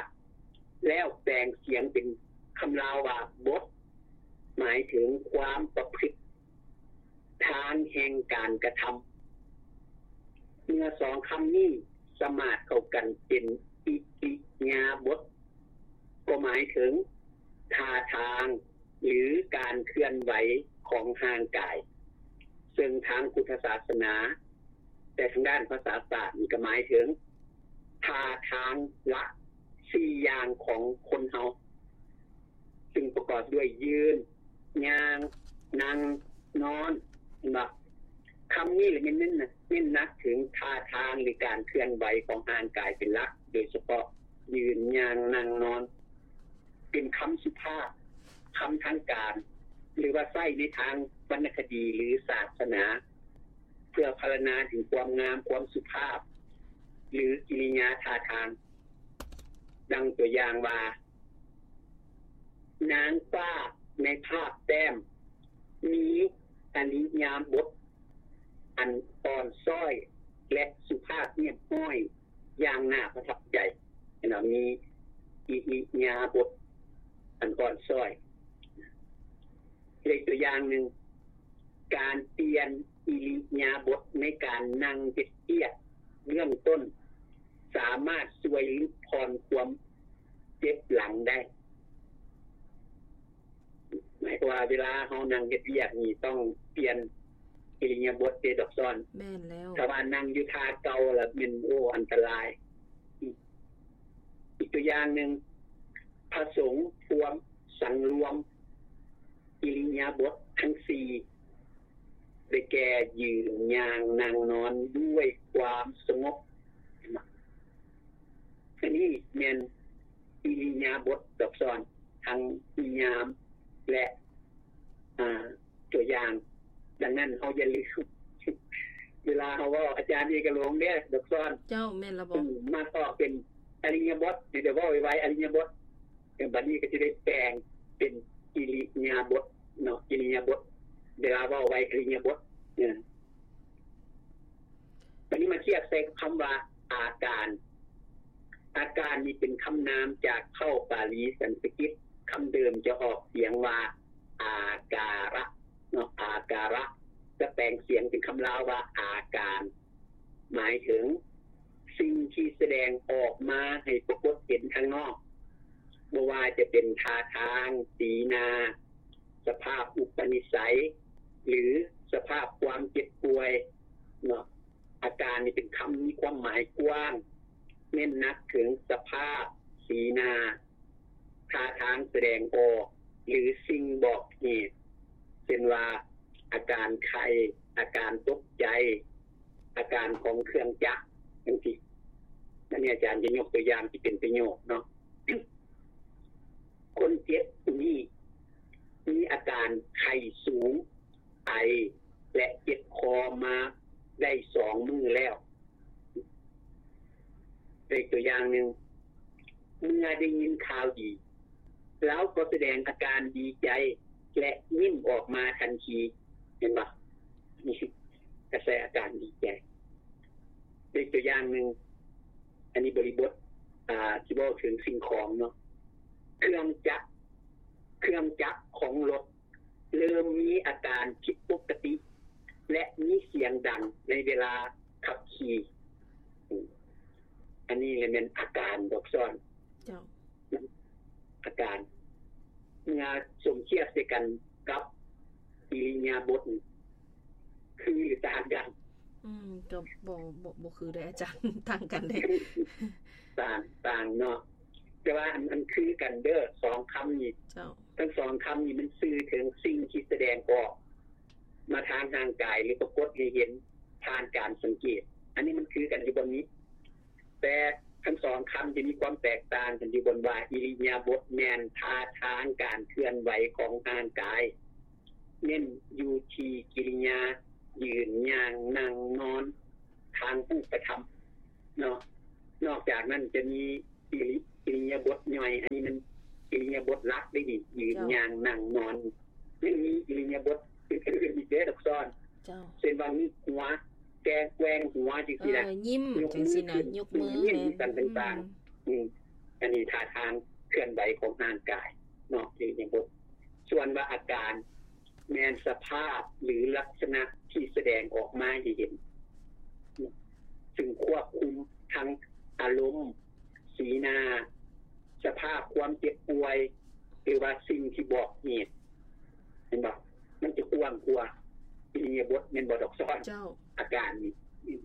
ແລ້ວແປງສຽງເປັນຄຳລາວວ່າ ບົດ ໝາຍເຖິງຄວາມປະພຶດທາງແຫ່ງການກະທຳ. ເມື່ອສອງຄຳນີ້ສະໝາດເຂົ້າກັນເປັນອິລິຍາບົດ ກໍໝາຍເຖິງທ່າທາງ ຫຼື ການເຄື່ອນໄຫວຂອງຮ່າງກາຍ, ເຊິ່ງທາງພຸດທະສາສະໜາ ແຕ່ທາງດ້ານພາສາສາດນີ້ກໍໝາຍເຖິງທ່າທາງລະສີ່ຢ່າງຂອງຄົນເຮົາ ຊຶ່ງປະກອບດ້ວຍຢືນ, ຍ່າງ, ນັ່ງ, ນອນ ເຫັນບໍ່? ຄຳນີ້ລະແມ່ນເນັ້ນ ເນັ້ນໜັກເຖິງທ່າທາງ ຫຼື ການເຄື່ອນໄຫວຂອງຮ່າງກາຍເປັນຫຼັກ, ໂດຍສະເພາະຢືນ, ຍ່າງ, ນັ່ງ, ນອນ ເປັນຄຳສຸພາບ, ຄຳທາງການ ຫຼືວ່າໃຊ້ໃນທາງວັນນະຄະດີ ຫຼື ສາສະໜາ ເພື່ອພັນລະນາເຖິງຄວາມງາມ, ຄວາມສຸພາບ ຫຼື ກິລິຍາທ່າທາງ. ດັ່ງຕົວຢ່າງວ່າ ນາງຟ້າໃນພາບແຕ້ມ ມີອິລິຍາບົດອັນອ່ອນຊ້ອຍ ແລະ ສຸພາບຮຽບຮ້ອຍ ຢ່າງໜ້າປະທັບໃຈ. ເຫັນບໍ່? ມີອິລິຍາບົດອັນອ່ອນຊ້ອຍ. ເລີກຕົວຢ່າງໜຶ່ງ, ການປ່ຽນອິລິຍາບົດໃນການນັ່ງເຮັດວຽກເບື້ອງຕົ້ນ ສາມາດຊ່ວຍຫຼຸດຜ່ອນຄວາມເຈັບຫຼັງໄດ້. ໝາຍຄວາມວ່າເວລາເຮົານັ່ງເຮັດວຽກນີ້ ຕ້ອງປ່ຽນອິລິຍາບົດເດ້ດອກຊອນ. ແມ່ນແລ້ວ. ຖ້າວ່ານັ່ງຢູ່ທ່າເກົ່າລະແມ່ນ ໂອ້ ອັນຕະລາຍ. ອີກຕົວຢ່າງໜຶ່ງ, ພະສົງຄວນສັງລວມອິລິຍາບົດທັງສີ່ ໄດ້ແກ່ ຢືນ, ຍ່າງ, ນັ່ງ, ນອນ ດ້ວຍຄວາມສະຫງົບ. ອັນນີ້ແມ່ນອິລິຍາບົດດອກຊອນ ທັງນິຍາມ ແລະ ອາ ຕົວຢ່າງ. ດັ່ງນັ້ນເຮົາຢ່າລືມ ເວລາເຮົາເວົ້າ ອາຈານເອກະຫຼົງເດ້ ດອກຊອນ. ເຈົ້າ ແມ່ນລະບໍ? ອືມ ມັກອອກເປັນອະລິຍະບົດ ດຽວເວົ້າໄວໆ ອະລິຍະບົດ. ເອີ ບັດນີ້ກໍຊິໄດ້ແປງເປັນອິລິຍາບົດເນາະ ອິລິຍາບົດ ເວລາເວົ້າໄວ ອິລິຍາບົດ. ເອີ ບັດນີ້ມາທຽບໃສ່ຄຳວ່າ ອາການ. ອາການນີ້ເປັນຄຳນາມຈາກເຄົ້າປາລີສັນສະກິດ, ຄຳເດີມຈະອອກສຽງວ່າ ອາກາຣະເນາະ ອາກາຣະ, ຈະແປງສຽງເປັນຄຳລາວວ່າ ອາການ. ໝາຍເຖິງສິ່ງທີ່ສະແດງອອກມາໃຫ້ປາກົດເຫັນທາງນອກ, ບໍ່ວ່າຈະເປັນທ່າທາງ, ສີໜ້າ, ສະພາບອຸປະນິໄສ ຫຼື ສະພາບຄວາມເຈັບປ່ວຍເນາະ. ອາການນີ້ເປັນຄຳມີຄວາມໝາຍກວ້າງ, ເນັ້ນໜັກເຖິງສະພາບ, ສີໜ້າ, ທ່າທາງສະແດງອອກ ຫຼື ສິ່ງບອກເຫດ ເຊັ່ນວ່າ ອາການໄຂ້, ອາການຕົກໃຈ, ອາການຂອງເຄື່ອງຈັກ ຈັ່ງຊີ້. ອັນນີ້ອາຈານຈະຍົກຕົວຢ່າງທີ່ເປັນປະໂຫຍກເນາະ. ຄົນເຈັບຜູ້ນີ້ມີອາການໄຂ້ສູງ, ໄອ ແລະ ເຈັບຄໍມາໄດ້ສອງມື້ແລ້ວ. ເປັນຕົວຢ່າງໜຶ່ງ, ເມື່ອໄດ້ຍິນຂ່າວດີ, ລາວກໍສະແດງອາການດີໃຈ ແລະ ຍິ້ມອອກມາທັນທີ. ເຫັນບໍ່? ນີ້ກະແສອາການດີໃຈ. ເປັນຕົວຢ່າງໜຶ່ງ, ອັນນີ້ບໍລິບົດ ອ່າ ທີ່ເວົ້າເຖິງສິ່ງຂອງເນາະ. ເຄື່ອງຈັກ, ເຄື່ອງຈັກຂອງລົດ ເລີ່ມມີອາການຜິດປົກກະຕິ ແລະ ມີສຽງດັງໃນເວລາຂັບຂີ່. ອັນນີ້ແຫຼະແມ່ນອາການດອກຊອນ. ເຈົ້າ. ອາການ ເມື່ອສົມທຽບໃສ່ກັນກັບອິລິຍາບົດ ຄື ຫຼື ຕ່າງກັນ? ອືມ ກໍບໍ່ ບໍ່ ບໍ່ຄືເດ້ອາຈານ ຕ່າງກັນເດ້. ຕ່າງ ຕ່າງເນາະ ແຕ່ວ່າອັນ ອັນຄືກັນເດີ ສອງຄຳນີ້. ເຈົ້າ. ທັງສອງຄຳນີ້ມັນສື່ເຖິງສິ່ງທີ່ສະແດງອອກມາທາງຮ່າງກາຍ ຫຼື ປາກົດໃຫ້ເຫັນຜ່ານການສັງເກດ. ອັນນີ້ມັນຄືກັນຢູ່ບ່ອນນີ້ ແຕ່ທັງສອງຄຳຈະມີຄວາມແຕກຕ່າງກັນຢູ່ບ່ອນວ່າ ອິລິຍາບົດແມ່ນທ່າທາງການເຄື່ອນໄຫວຂອງຮ່າງກາຍ ເນັ້ນຢູ່ທີ່ກິລິຍາ ຢືນ ຍ່າງ ນັ່ງ ນອນ ທາງຮູບປະທຳເນາະ. ນອກຈາກນັ້ນຈະມີອິລິ ອິລິຍາບົດຍ່ອຍ, ອັນນີ້ມັນອິລິຍາບົດຫຼັກເດ້ນີ້ ຢືນ ເຈົ້າ ຍ່າງ ນັ່ງ ນອນ. ຍັງມີອິລິຍາບົດອື່ນໆອີກເດ້ ດອກຊອນ. ເຈົ້າ. ເຊັ່ນວ່າງຸບຫົວ, ແກວ່ງຫົວ ຈັ່ງຊີ້ນະ. ເອີ, ຍິ້ມ ຍົກມື ຈັ່ງຊີ້ນະ, ຍົກມື ແມ່ນ ຍິ້ມ ສັນຕ່າງໆ. ອືມ. ອືມ. ອັນນີ້ທ່າທາງເຄື່ອນໄຫວຂອງຮ່າງກາຍເນາະ ອິລິຍາບົດ. ສ່ວນວ່າອາການ ແມ່ນສະພາບ ຫຼື ລັກສະນະທີ່ສະແດງອອກມາໃຫ້ເຫັນ, ຊຶ່ງຄວບຄຸມທັງອາລົມ, ສີໜ້າ, ສະພາບຄວາມເຈັບປ່ວຍ ຫຼືວ່າສິ່ງທີ່ບອກເຫດ. ເຫັນບໍ່? ມັນຈະກວ້າງກວ່າອິລິຍາບົດ ແມ່ນບໍ່ ດອກຊອນ? ເຈົ້າ. ອາການນີ້ ອືມ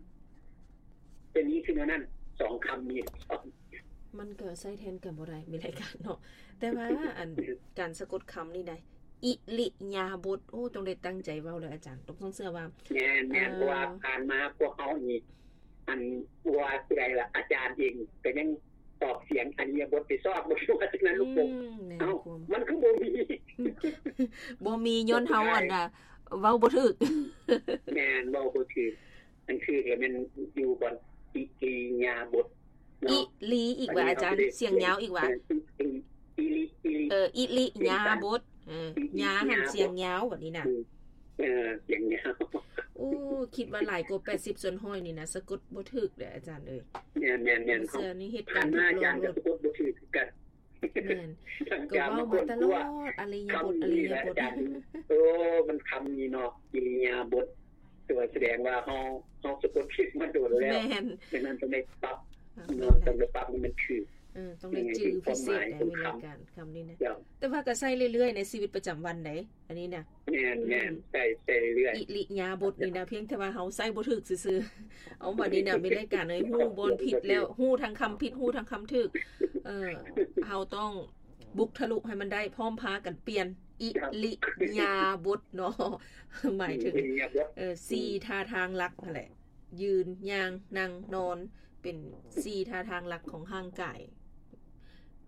ເປັນນີ້ຄືແນວນັ້ນ ສອງຄຳນີ້ ມັນກໍໃຊ້ແທນກັນບໍ່ໄດ້ ມີລາຍການເນາະ. ແຕ່ວ່າອັນ ການສະກົດຄຳນີ້ໄດ໋ ອິລິຍາບົດ ໂອ້ ຕ້ອງໄດ້ຕັ້ງໃຈເວົ້າເດີອາຈານ ຕ້ອງເຊື່ອວ່າ. ແມ່ນໆ. ເອີ ເພາະວ່າຜ່ານມາພວກເຮົານີ້ ອັນ ວ່າຊິໄດ້ລະ ອາຈານເອງກໍຍັງອອກສຽງອິລິຍາບົດໄປຊອກບໍ່ຢູ່ ວ່າຊັ້ນນະ ລູກໂປ່ງ. ອືມ ແມ່ນ. ເອົ້າ ຄວາມ ມັນຄືບໍ່ມີ ບໍ່ມີຍ້ອນເຮົາ ສຸດທ້າຍ ອັນນ່າ ເວົ້າບໍ່ຖືກ. ແມ່ນ ເວົ້າບໍ່ຖືກ. ອັນຄືແມ່ນຢູ່ບ່ອນອິລິຍາບົດເນາະ. ອິລິອີກວ່າ ອັນນີ້ ອາຈານ ເຮົາຊິໄດ້ ສຽງຍາວອີກວ່າ? ເອີ ອິລິ ອິລິ ເອີ ອິລິຍາບົດ. ເອີ ອິລິຍາ ຍາຫັ້ນສຽງຍາວ ບັດນີ້ນະ. ອືມ ເອີ ສຽງຍາວ. ໂອ້ ຄິດວ່າຫຼາຍກວ່າແປດສິບສ່ວນຮ້ອຍນີ້ນະ ສະກົດບໍ່ຖືກເດີອາຈານເອີຍ. ແມ່ນໆໆ. ເຊື່ອນີ້ເຮັດການທົດລອງໂລດ ສະກົດບໍ່ຖືກຄືກັນ. ແມ່ນ ກໍເວົ້າມາຕະຫຼອດ ອິລິຍາບົດ ອິລິຍາບົດ. ໂອ້ ມັນຄຳນີ້ເນາະ ອິລິຍາບົດ ແຕ່ວ່າສະແດງວ່າເຮົາ ເຮົາສະກົດຜິດມາດົນແລ້ວ. ແມ່ນ. ດັ່ງນັ້ນຕ້ອງໄດ້ປັບ ເອີ ເນາະ ຕ້ອງໄດ້ປັບໃຫ້ມັນຖືກ. ເອີ ຕ້ອງໄດ້ຈື່ພິເສດໃດ໋ ມີລາຍການຄຳນີ້ນະ. ເຈົ້າ. ແຕ່ວ່າກໍໃຊ້ເລື້ອຍໆໃນຊີວິດປະຈຳວັນໃດ໋ ອັນນີ້ນະ. ແມ່ນໆ. ອືມ ໃຊ້ ໃຊ້ເລື້ອຍ. ອິລິຍາບົດນີ້ນະ ພຽງແຕ່ວ່າເຮົາໃຊ້ບໍ່ຖືກຊື່ໆ. ເອົາ ບັດນີ້ນະ ມີລາຍການເອີຍ ຮູ້ບ່ອນຜິດແລ້ວ ຮູ້ທັງຄຳຜິດ ຮູ້ທັງຄຳຖືກ. ເອີ ເຮົາຕ້ອງບຸກທະລຸໃຫ້ມັນໄດ້ ພ້ອມພາກັນປ່ຽນອິລິຍາບົດເນາະ ໝາຍເຖິງ ອິລິຍາບົດ ເອີ ສີ່ ອືມ ທ່າທາງຫຼັກຫັ້ນແຫຼະ ຢືນ ຍ່າງ ນັ່ງ ນອນ ເປັນສີ່ທ່າທາງຫຼັກຂອງຮ່າງກາຍ.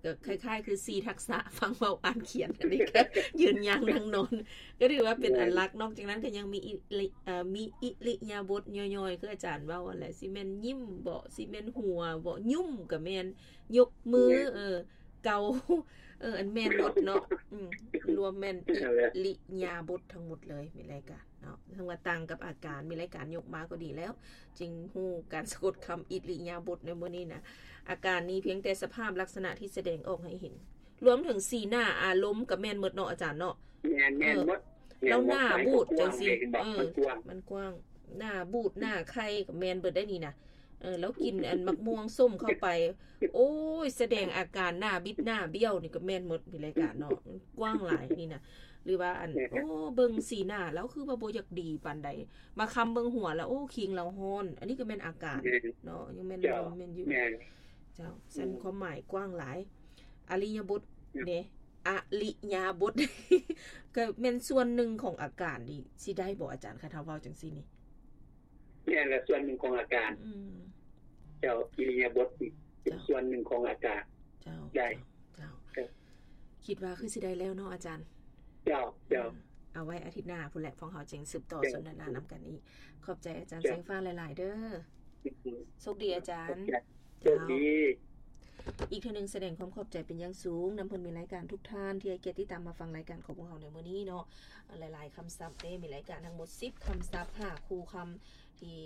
ກໍຄ້າຍໆຄືສີ່ທັກສະ ຟັງເວົ້າ ອ່ານ ຂຽນ. ອັນນີ້ກໍຢືນ ຍ່າງ ນັ່ງ ນອນ ກໍຖືວ່າເປັນອັນຫຼັກ. ແມ່ນ. ນອກຈາກນັ້ນກໍຍັງມີອິລິ ເອີ ມີອິລິຍາບົດຍ່ອຍໆ ຄືອາຈານເວົ້າຫັ້ນແຫຼະ ຊິແມ່ນຍິ້ມບໍ ຊິແມ່ນຫົວບໍ ຍຸ້ມກໍແມ່ນ ຍົກມື ແມ່ນ. ເອີ ເກົາ ເອີ ອັນແມ່ນໝົດເນາະ. ອືມ ລວມແມ່ນ ນັ້ນແຫຼະ ອິລິຍາບົດທັງໝົດເລີຍ ມີລາຍການເນາະ. ເຖິງວ່າຕ່າງກັບອາການ ມີລາຍການຍົກມາກໍດີແລ້ວ ຈຶ່ງຮູ້ການສະກົດຄຳອິລິຍາບົດໃນມື້ນີ້ນະ. ອາການນີ້ພຽງແຕ່ສະພາບລັກສະນະທີ່ສະແດງອອກໃຫ້ເຫັນ ລວມເຖິງສີໜ້າ ອາລົມກໍແມ່ນໝົດເນາະອາຈານເນາະ. ແມ່ນໆ ເອີ ໝົດ. ແລ້ວໜ້າບູດຈັ່ງຊີ້ ເອີ ມັນກວ້າງ ມັນກວ້າງ. ໜ້າບູດ ໜ້າໄຂ່ກໍແມ່ນເບິດໄດ໋ນີ້ນະ. ເອີ ແລ້ວກິນອັນໝາກມ່ວງສົ້ມເຂົ້າໄປ ໂອ້ຍ ສະແດງອາການໜ້າບິດໜ້າບ້ຽວນີ້ກໍແມ່ນໝົດ ມີລາຍການເນາະ ມັນກວ້າງຫຼາຍນີ້ນະ. ຫຼືວ່າອັນ ແມ່ນ ໂອ້ ເບິ່ງສີໜ້າລາວຄືວ່າບໍ່ຢາກດີປານໃດ ມາຄຳເບິ່ງຫົວລາວ ໂອ້ ຄີງລາວຮ້ອນ ອັນນີ້ກໍແມ່ນອາການ ແມ່ນ ເນາະ ຍັງແມ່ນ ເຈົ້າ ລວມແມ່ນຢູ່ ແມ່ນ ເຈົ້າ. ຊັ້ນ ອືມ ຄວາມໝາຍກວ້າງຫຼາຍ ອະລິຍະບົດ ອືມ ເດ້ ອະລິຍະບົດ ກໍແມ່ນສ່ວນໜຶ່ງຂອງອາການນີ້ ຊິໄດ້ບໍ່ອາຈານ ຄັນເຮົາເວົ້າຈັ່ງຊີ້ນີ້? ແມ່ນລະ ສ່ວນໜຶ່ງຂອງອາການ. ອືມ ເຈົ້າ ອິລິຍາບົດນີ້ເປັນ ເຈົ້າ ສ່ວນໜຶ່ງຂອງອາການ. ເຈົ້າ ໄດ້ ເຈົ້າ ເຈົ້າ ເຈົ້າ. ຄິດວ່າຄືຊິໄດ້ແລ້ວເນາະອາຈານ. ເຈົ້າ ເຈົ້າ. ອືມ ເອົາໄວ້ອາທິດໜ້າພຸ້ນແຫຼະ ພວກເຮົາຈຶ່ງສືບຕໍ່ ເຈົ້າ ສົນທະນານຳກັນອີກ. ຂອບໃຈອາຈານ ເຈົ້າ ແສງຟ້າຫຼາຍໆເດີ. ອືມ ໂຊກດີອາຈານ. ຂອບໃຈ. ໂຊກດີ. ເຈົ້າ ອີກເທື່ອໜຶ່ງສະແດງຄວາມຂອບໃຈເປັນຢ່າງສູງນຳເພື່ອນມີລາຍການທຸກທ່ານທີ່ໃຫ້ກຽດຕິດຕາມມາຟັງລາຍການຂອງພວກເຮົາໃນມື້ນີ້ເນາະ. ຫຼາຍໆຄຳສັບເດ້ ມີລາຍການທັງໝົດສິບຄຳສັບ ຫ້າຄູ່ຄຳ ທີ່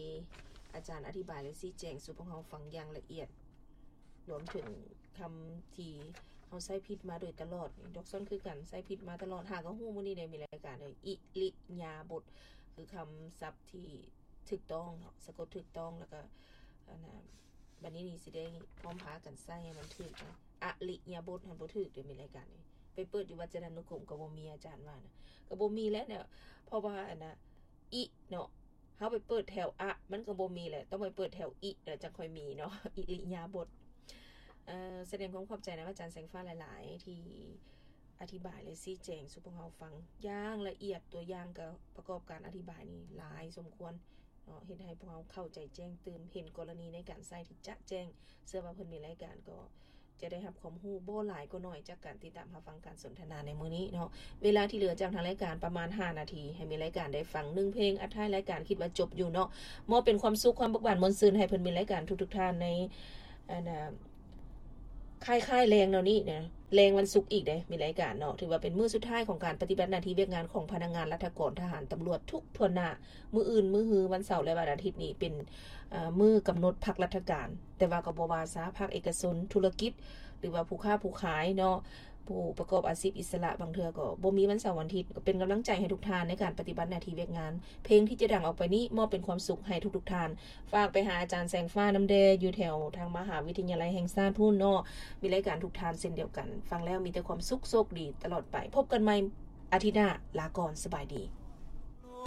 ອາຈານອະທິບາຍ ແລະ ຊີ້ແຈງສູ່ພວກເຮົາຟັງຢ່າງລະອຽດ, ລວມເຖິງຄຳທີ່ເຮົາໃຊ້ຜິດມາໂດຍຕະຫຼອດ. ດອກຊອນຄືກັນ ໃຊ້ຜິດມາຕະຫຼອດ, ຫາກໍຮູ້ມື້ນີ້ໄດ້ມີລາຍການເລີຍ. ອິລິຍາບົດ ຄືຄຳສັບທີ່ຖືກຕ້ອງເນາະ, ສະກົດຖືກຕ້ອງ, ແລ້ວກໍ ອັນນ່າ ບັດນີ້ນີ້ຊິໄດ້ພ້ອມພາກັນໃຊ້ໃຫ້ມັນຖືກນະ. ອະລິຍາບົດຫັ້ນບໍ່ຖືກເດ້ ມີລາຍການນີ້. ໄປເປີດຢູ່ວັດຈະນານຸກົມກໍບໍ່ມີ, ອາຈານວ່ານະ ກໍບໍ່ມີແຫຼະເນາະ, ເພາະວ່າ ອັນນ່າ ອິເນາະ ເຮົາໄປເປີດແຖວອະ ມັນກໍບໍ່ມີແຫຼະ, ຕ້ອງໄປເປີດແຖວອິແລ້ວຈັ່ງຄ່ອຍມີເນາະ. ອິລິຍາບົດ. ເອີ ສະແດງຄວາມຂອບໃຈນຳອາຈານແສງຟ້າຫຼາຍໆ ທີ່ອະທິບາຍ ແລະ ຊີ້ແຈງສູ່ພວກເຮົາຟັງຢ່າງລະອຽດ, ຕົວຢ່າງກໍປະກອບການອະທິບາຍນີ້ຫຼາຍສົມຄວນເນາະ, ເຮັດໃຫ້ພວກເຮົາເຂົ້າໃຈແຈ້ງຕື່ມ, ເຫັນກໍລະນີໃນການໃຊ້ທີ່ຈະແຈ້ງ. ເຊື່ອວ່າເພິ່ນມີລາຍການກໍ ຈະໄດ້ຮັບຄວາມຮູ້ບໍ່ຫຼາຍກໍໜ້ອຍ ຈາກການຕິດຕາມຮັບຟັງການສົນທະນາໃນມື້ນີ້ເນາະ. ເວລາທີ່ເຫຼືອຈາກທາງລາຍການປະມານຫ້ານາທີ ໃຫ້ມີລາຍການໄດ້ຟັງໜຶ່ງເພງ ອັດທ້າຍລາຍການຄິດວ່າຈົບຢູ່ເນາະ. ມອບເປັນຄວາມສຸກ ຄວາມເບີກບານມ່ວນຊື່ນໃຫ້ເພິ່ນມີລາຍການທຸກໆທ່ານໃນ ອັນນ່າ ຄ້າຍໆແລງແນວນີ້ນະ ແລງວັນສຸກອີກເດ້ ມີລາຍການເນາະ. ຖືວ່າເປັນມື້ສຸດທ້າຍຂອງການປະຕິບັດໜ້າທີ່ວຽກງານຂອງພະນັກງານລັດຖະກອນ, ທະຫານ, ຕຳຫຼວດທຸກທົ່ວໜ້າ. ມື້ອື່ນ, ມື້ຮື, ວັນເສົາ ແລະ ວັນອາທິດນີ້ເປັນ ເອີ ມື້ກຳນົດພັກລັດຖະການ, ແຕ່ວ່າກໍບໍ່ວ່າຊາ ພາກເອກະຊົນ, ທຸລະກິດ ຫຼືວ່າຜູ້ຄ້າຜູ້ຂາຍເນາະ, ຜູ້ປະກອບອາຊີບອິດສະຫຼະ ບາງເທື່ອກໍບໍ່ມີວັນເສົາວັນອາທິດ. ກໍເປັນກຳລັງໃຈໃຫ້ທຸກທ່ານໃນການປະຕິບັດໜ້າທີ່ວຽກງານ. ເພງທີ່ຈະດັງອອກໄປນີ້ ມອບເປັນຄວາມສຸກໃຫ້ທຸກໆທ່ານ. ຝາກໄປຫາອາຈານແສງຟ້ານຳແດ່ ຢູ່ແຖວທາງມະຫາວິທະຍາໄລແຫ່ງຊາດພຸ້ນເນາະ. ມີລາຍການທຸກທ່ານເຊັ່ນດຽວກັນ. ຟັງແລ້ວມີແຕ່ຄວາມສຸກ, ໂຊກດີຕະຫຼອດໄປ. ພົບກັນໃໝ່ອາທິດໜ້າ. ລາກ່ອນ, ສະບາຍດີ.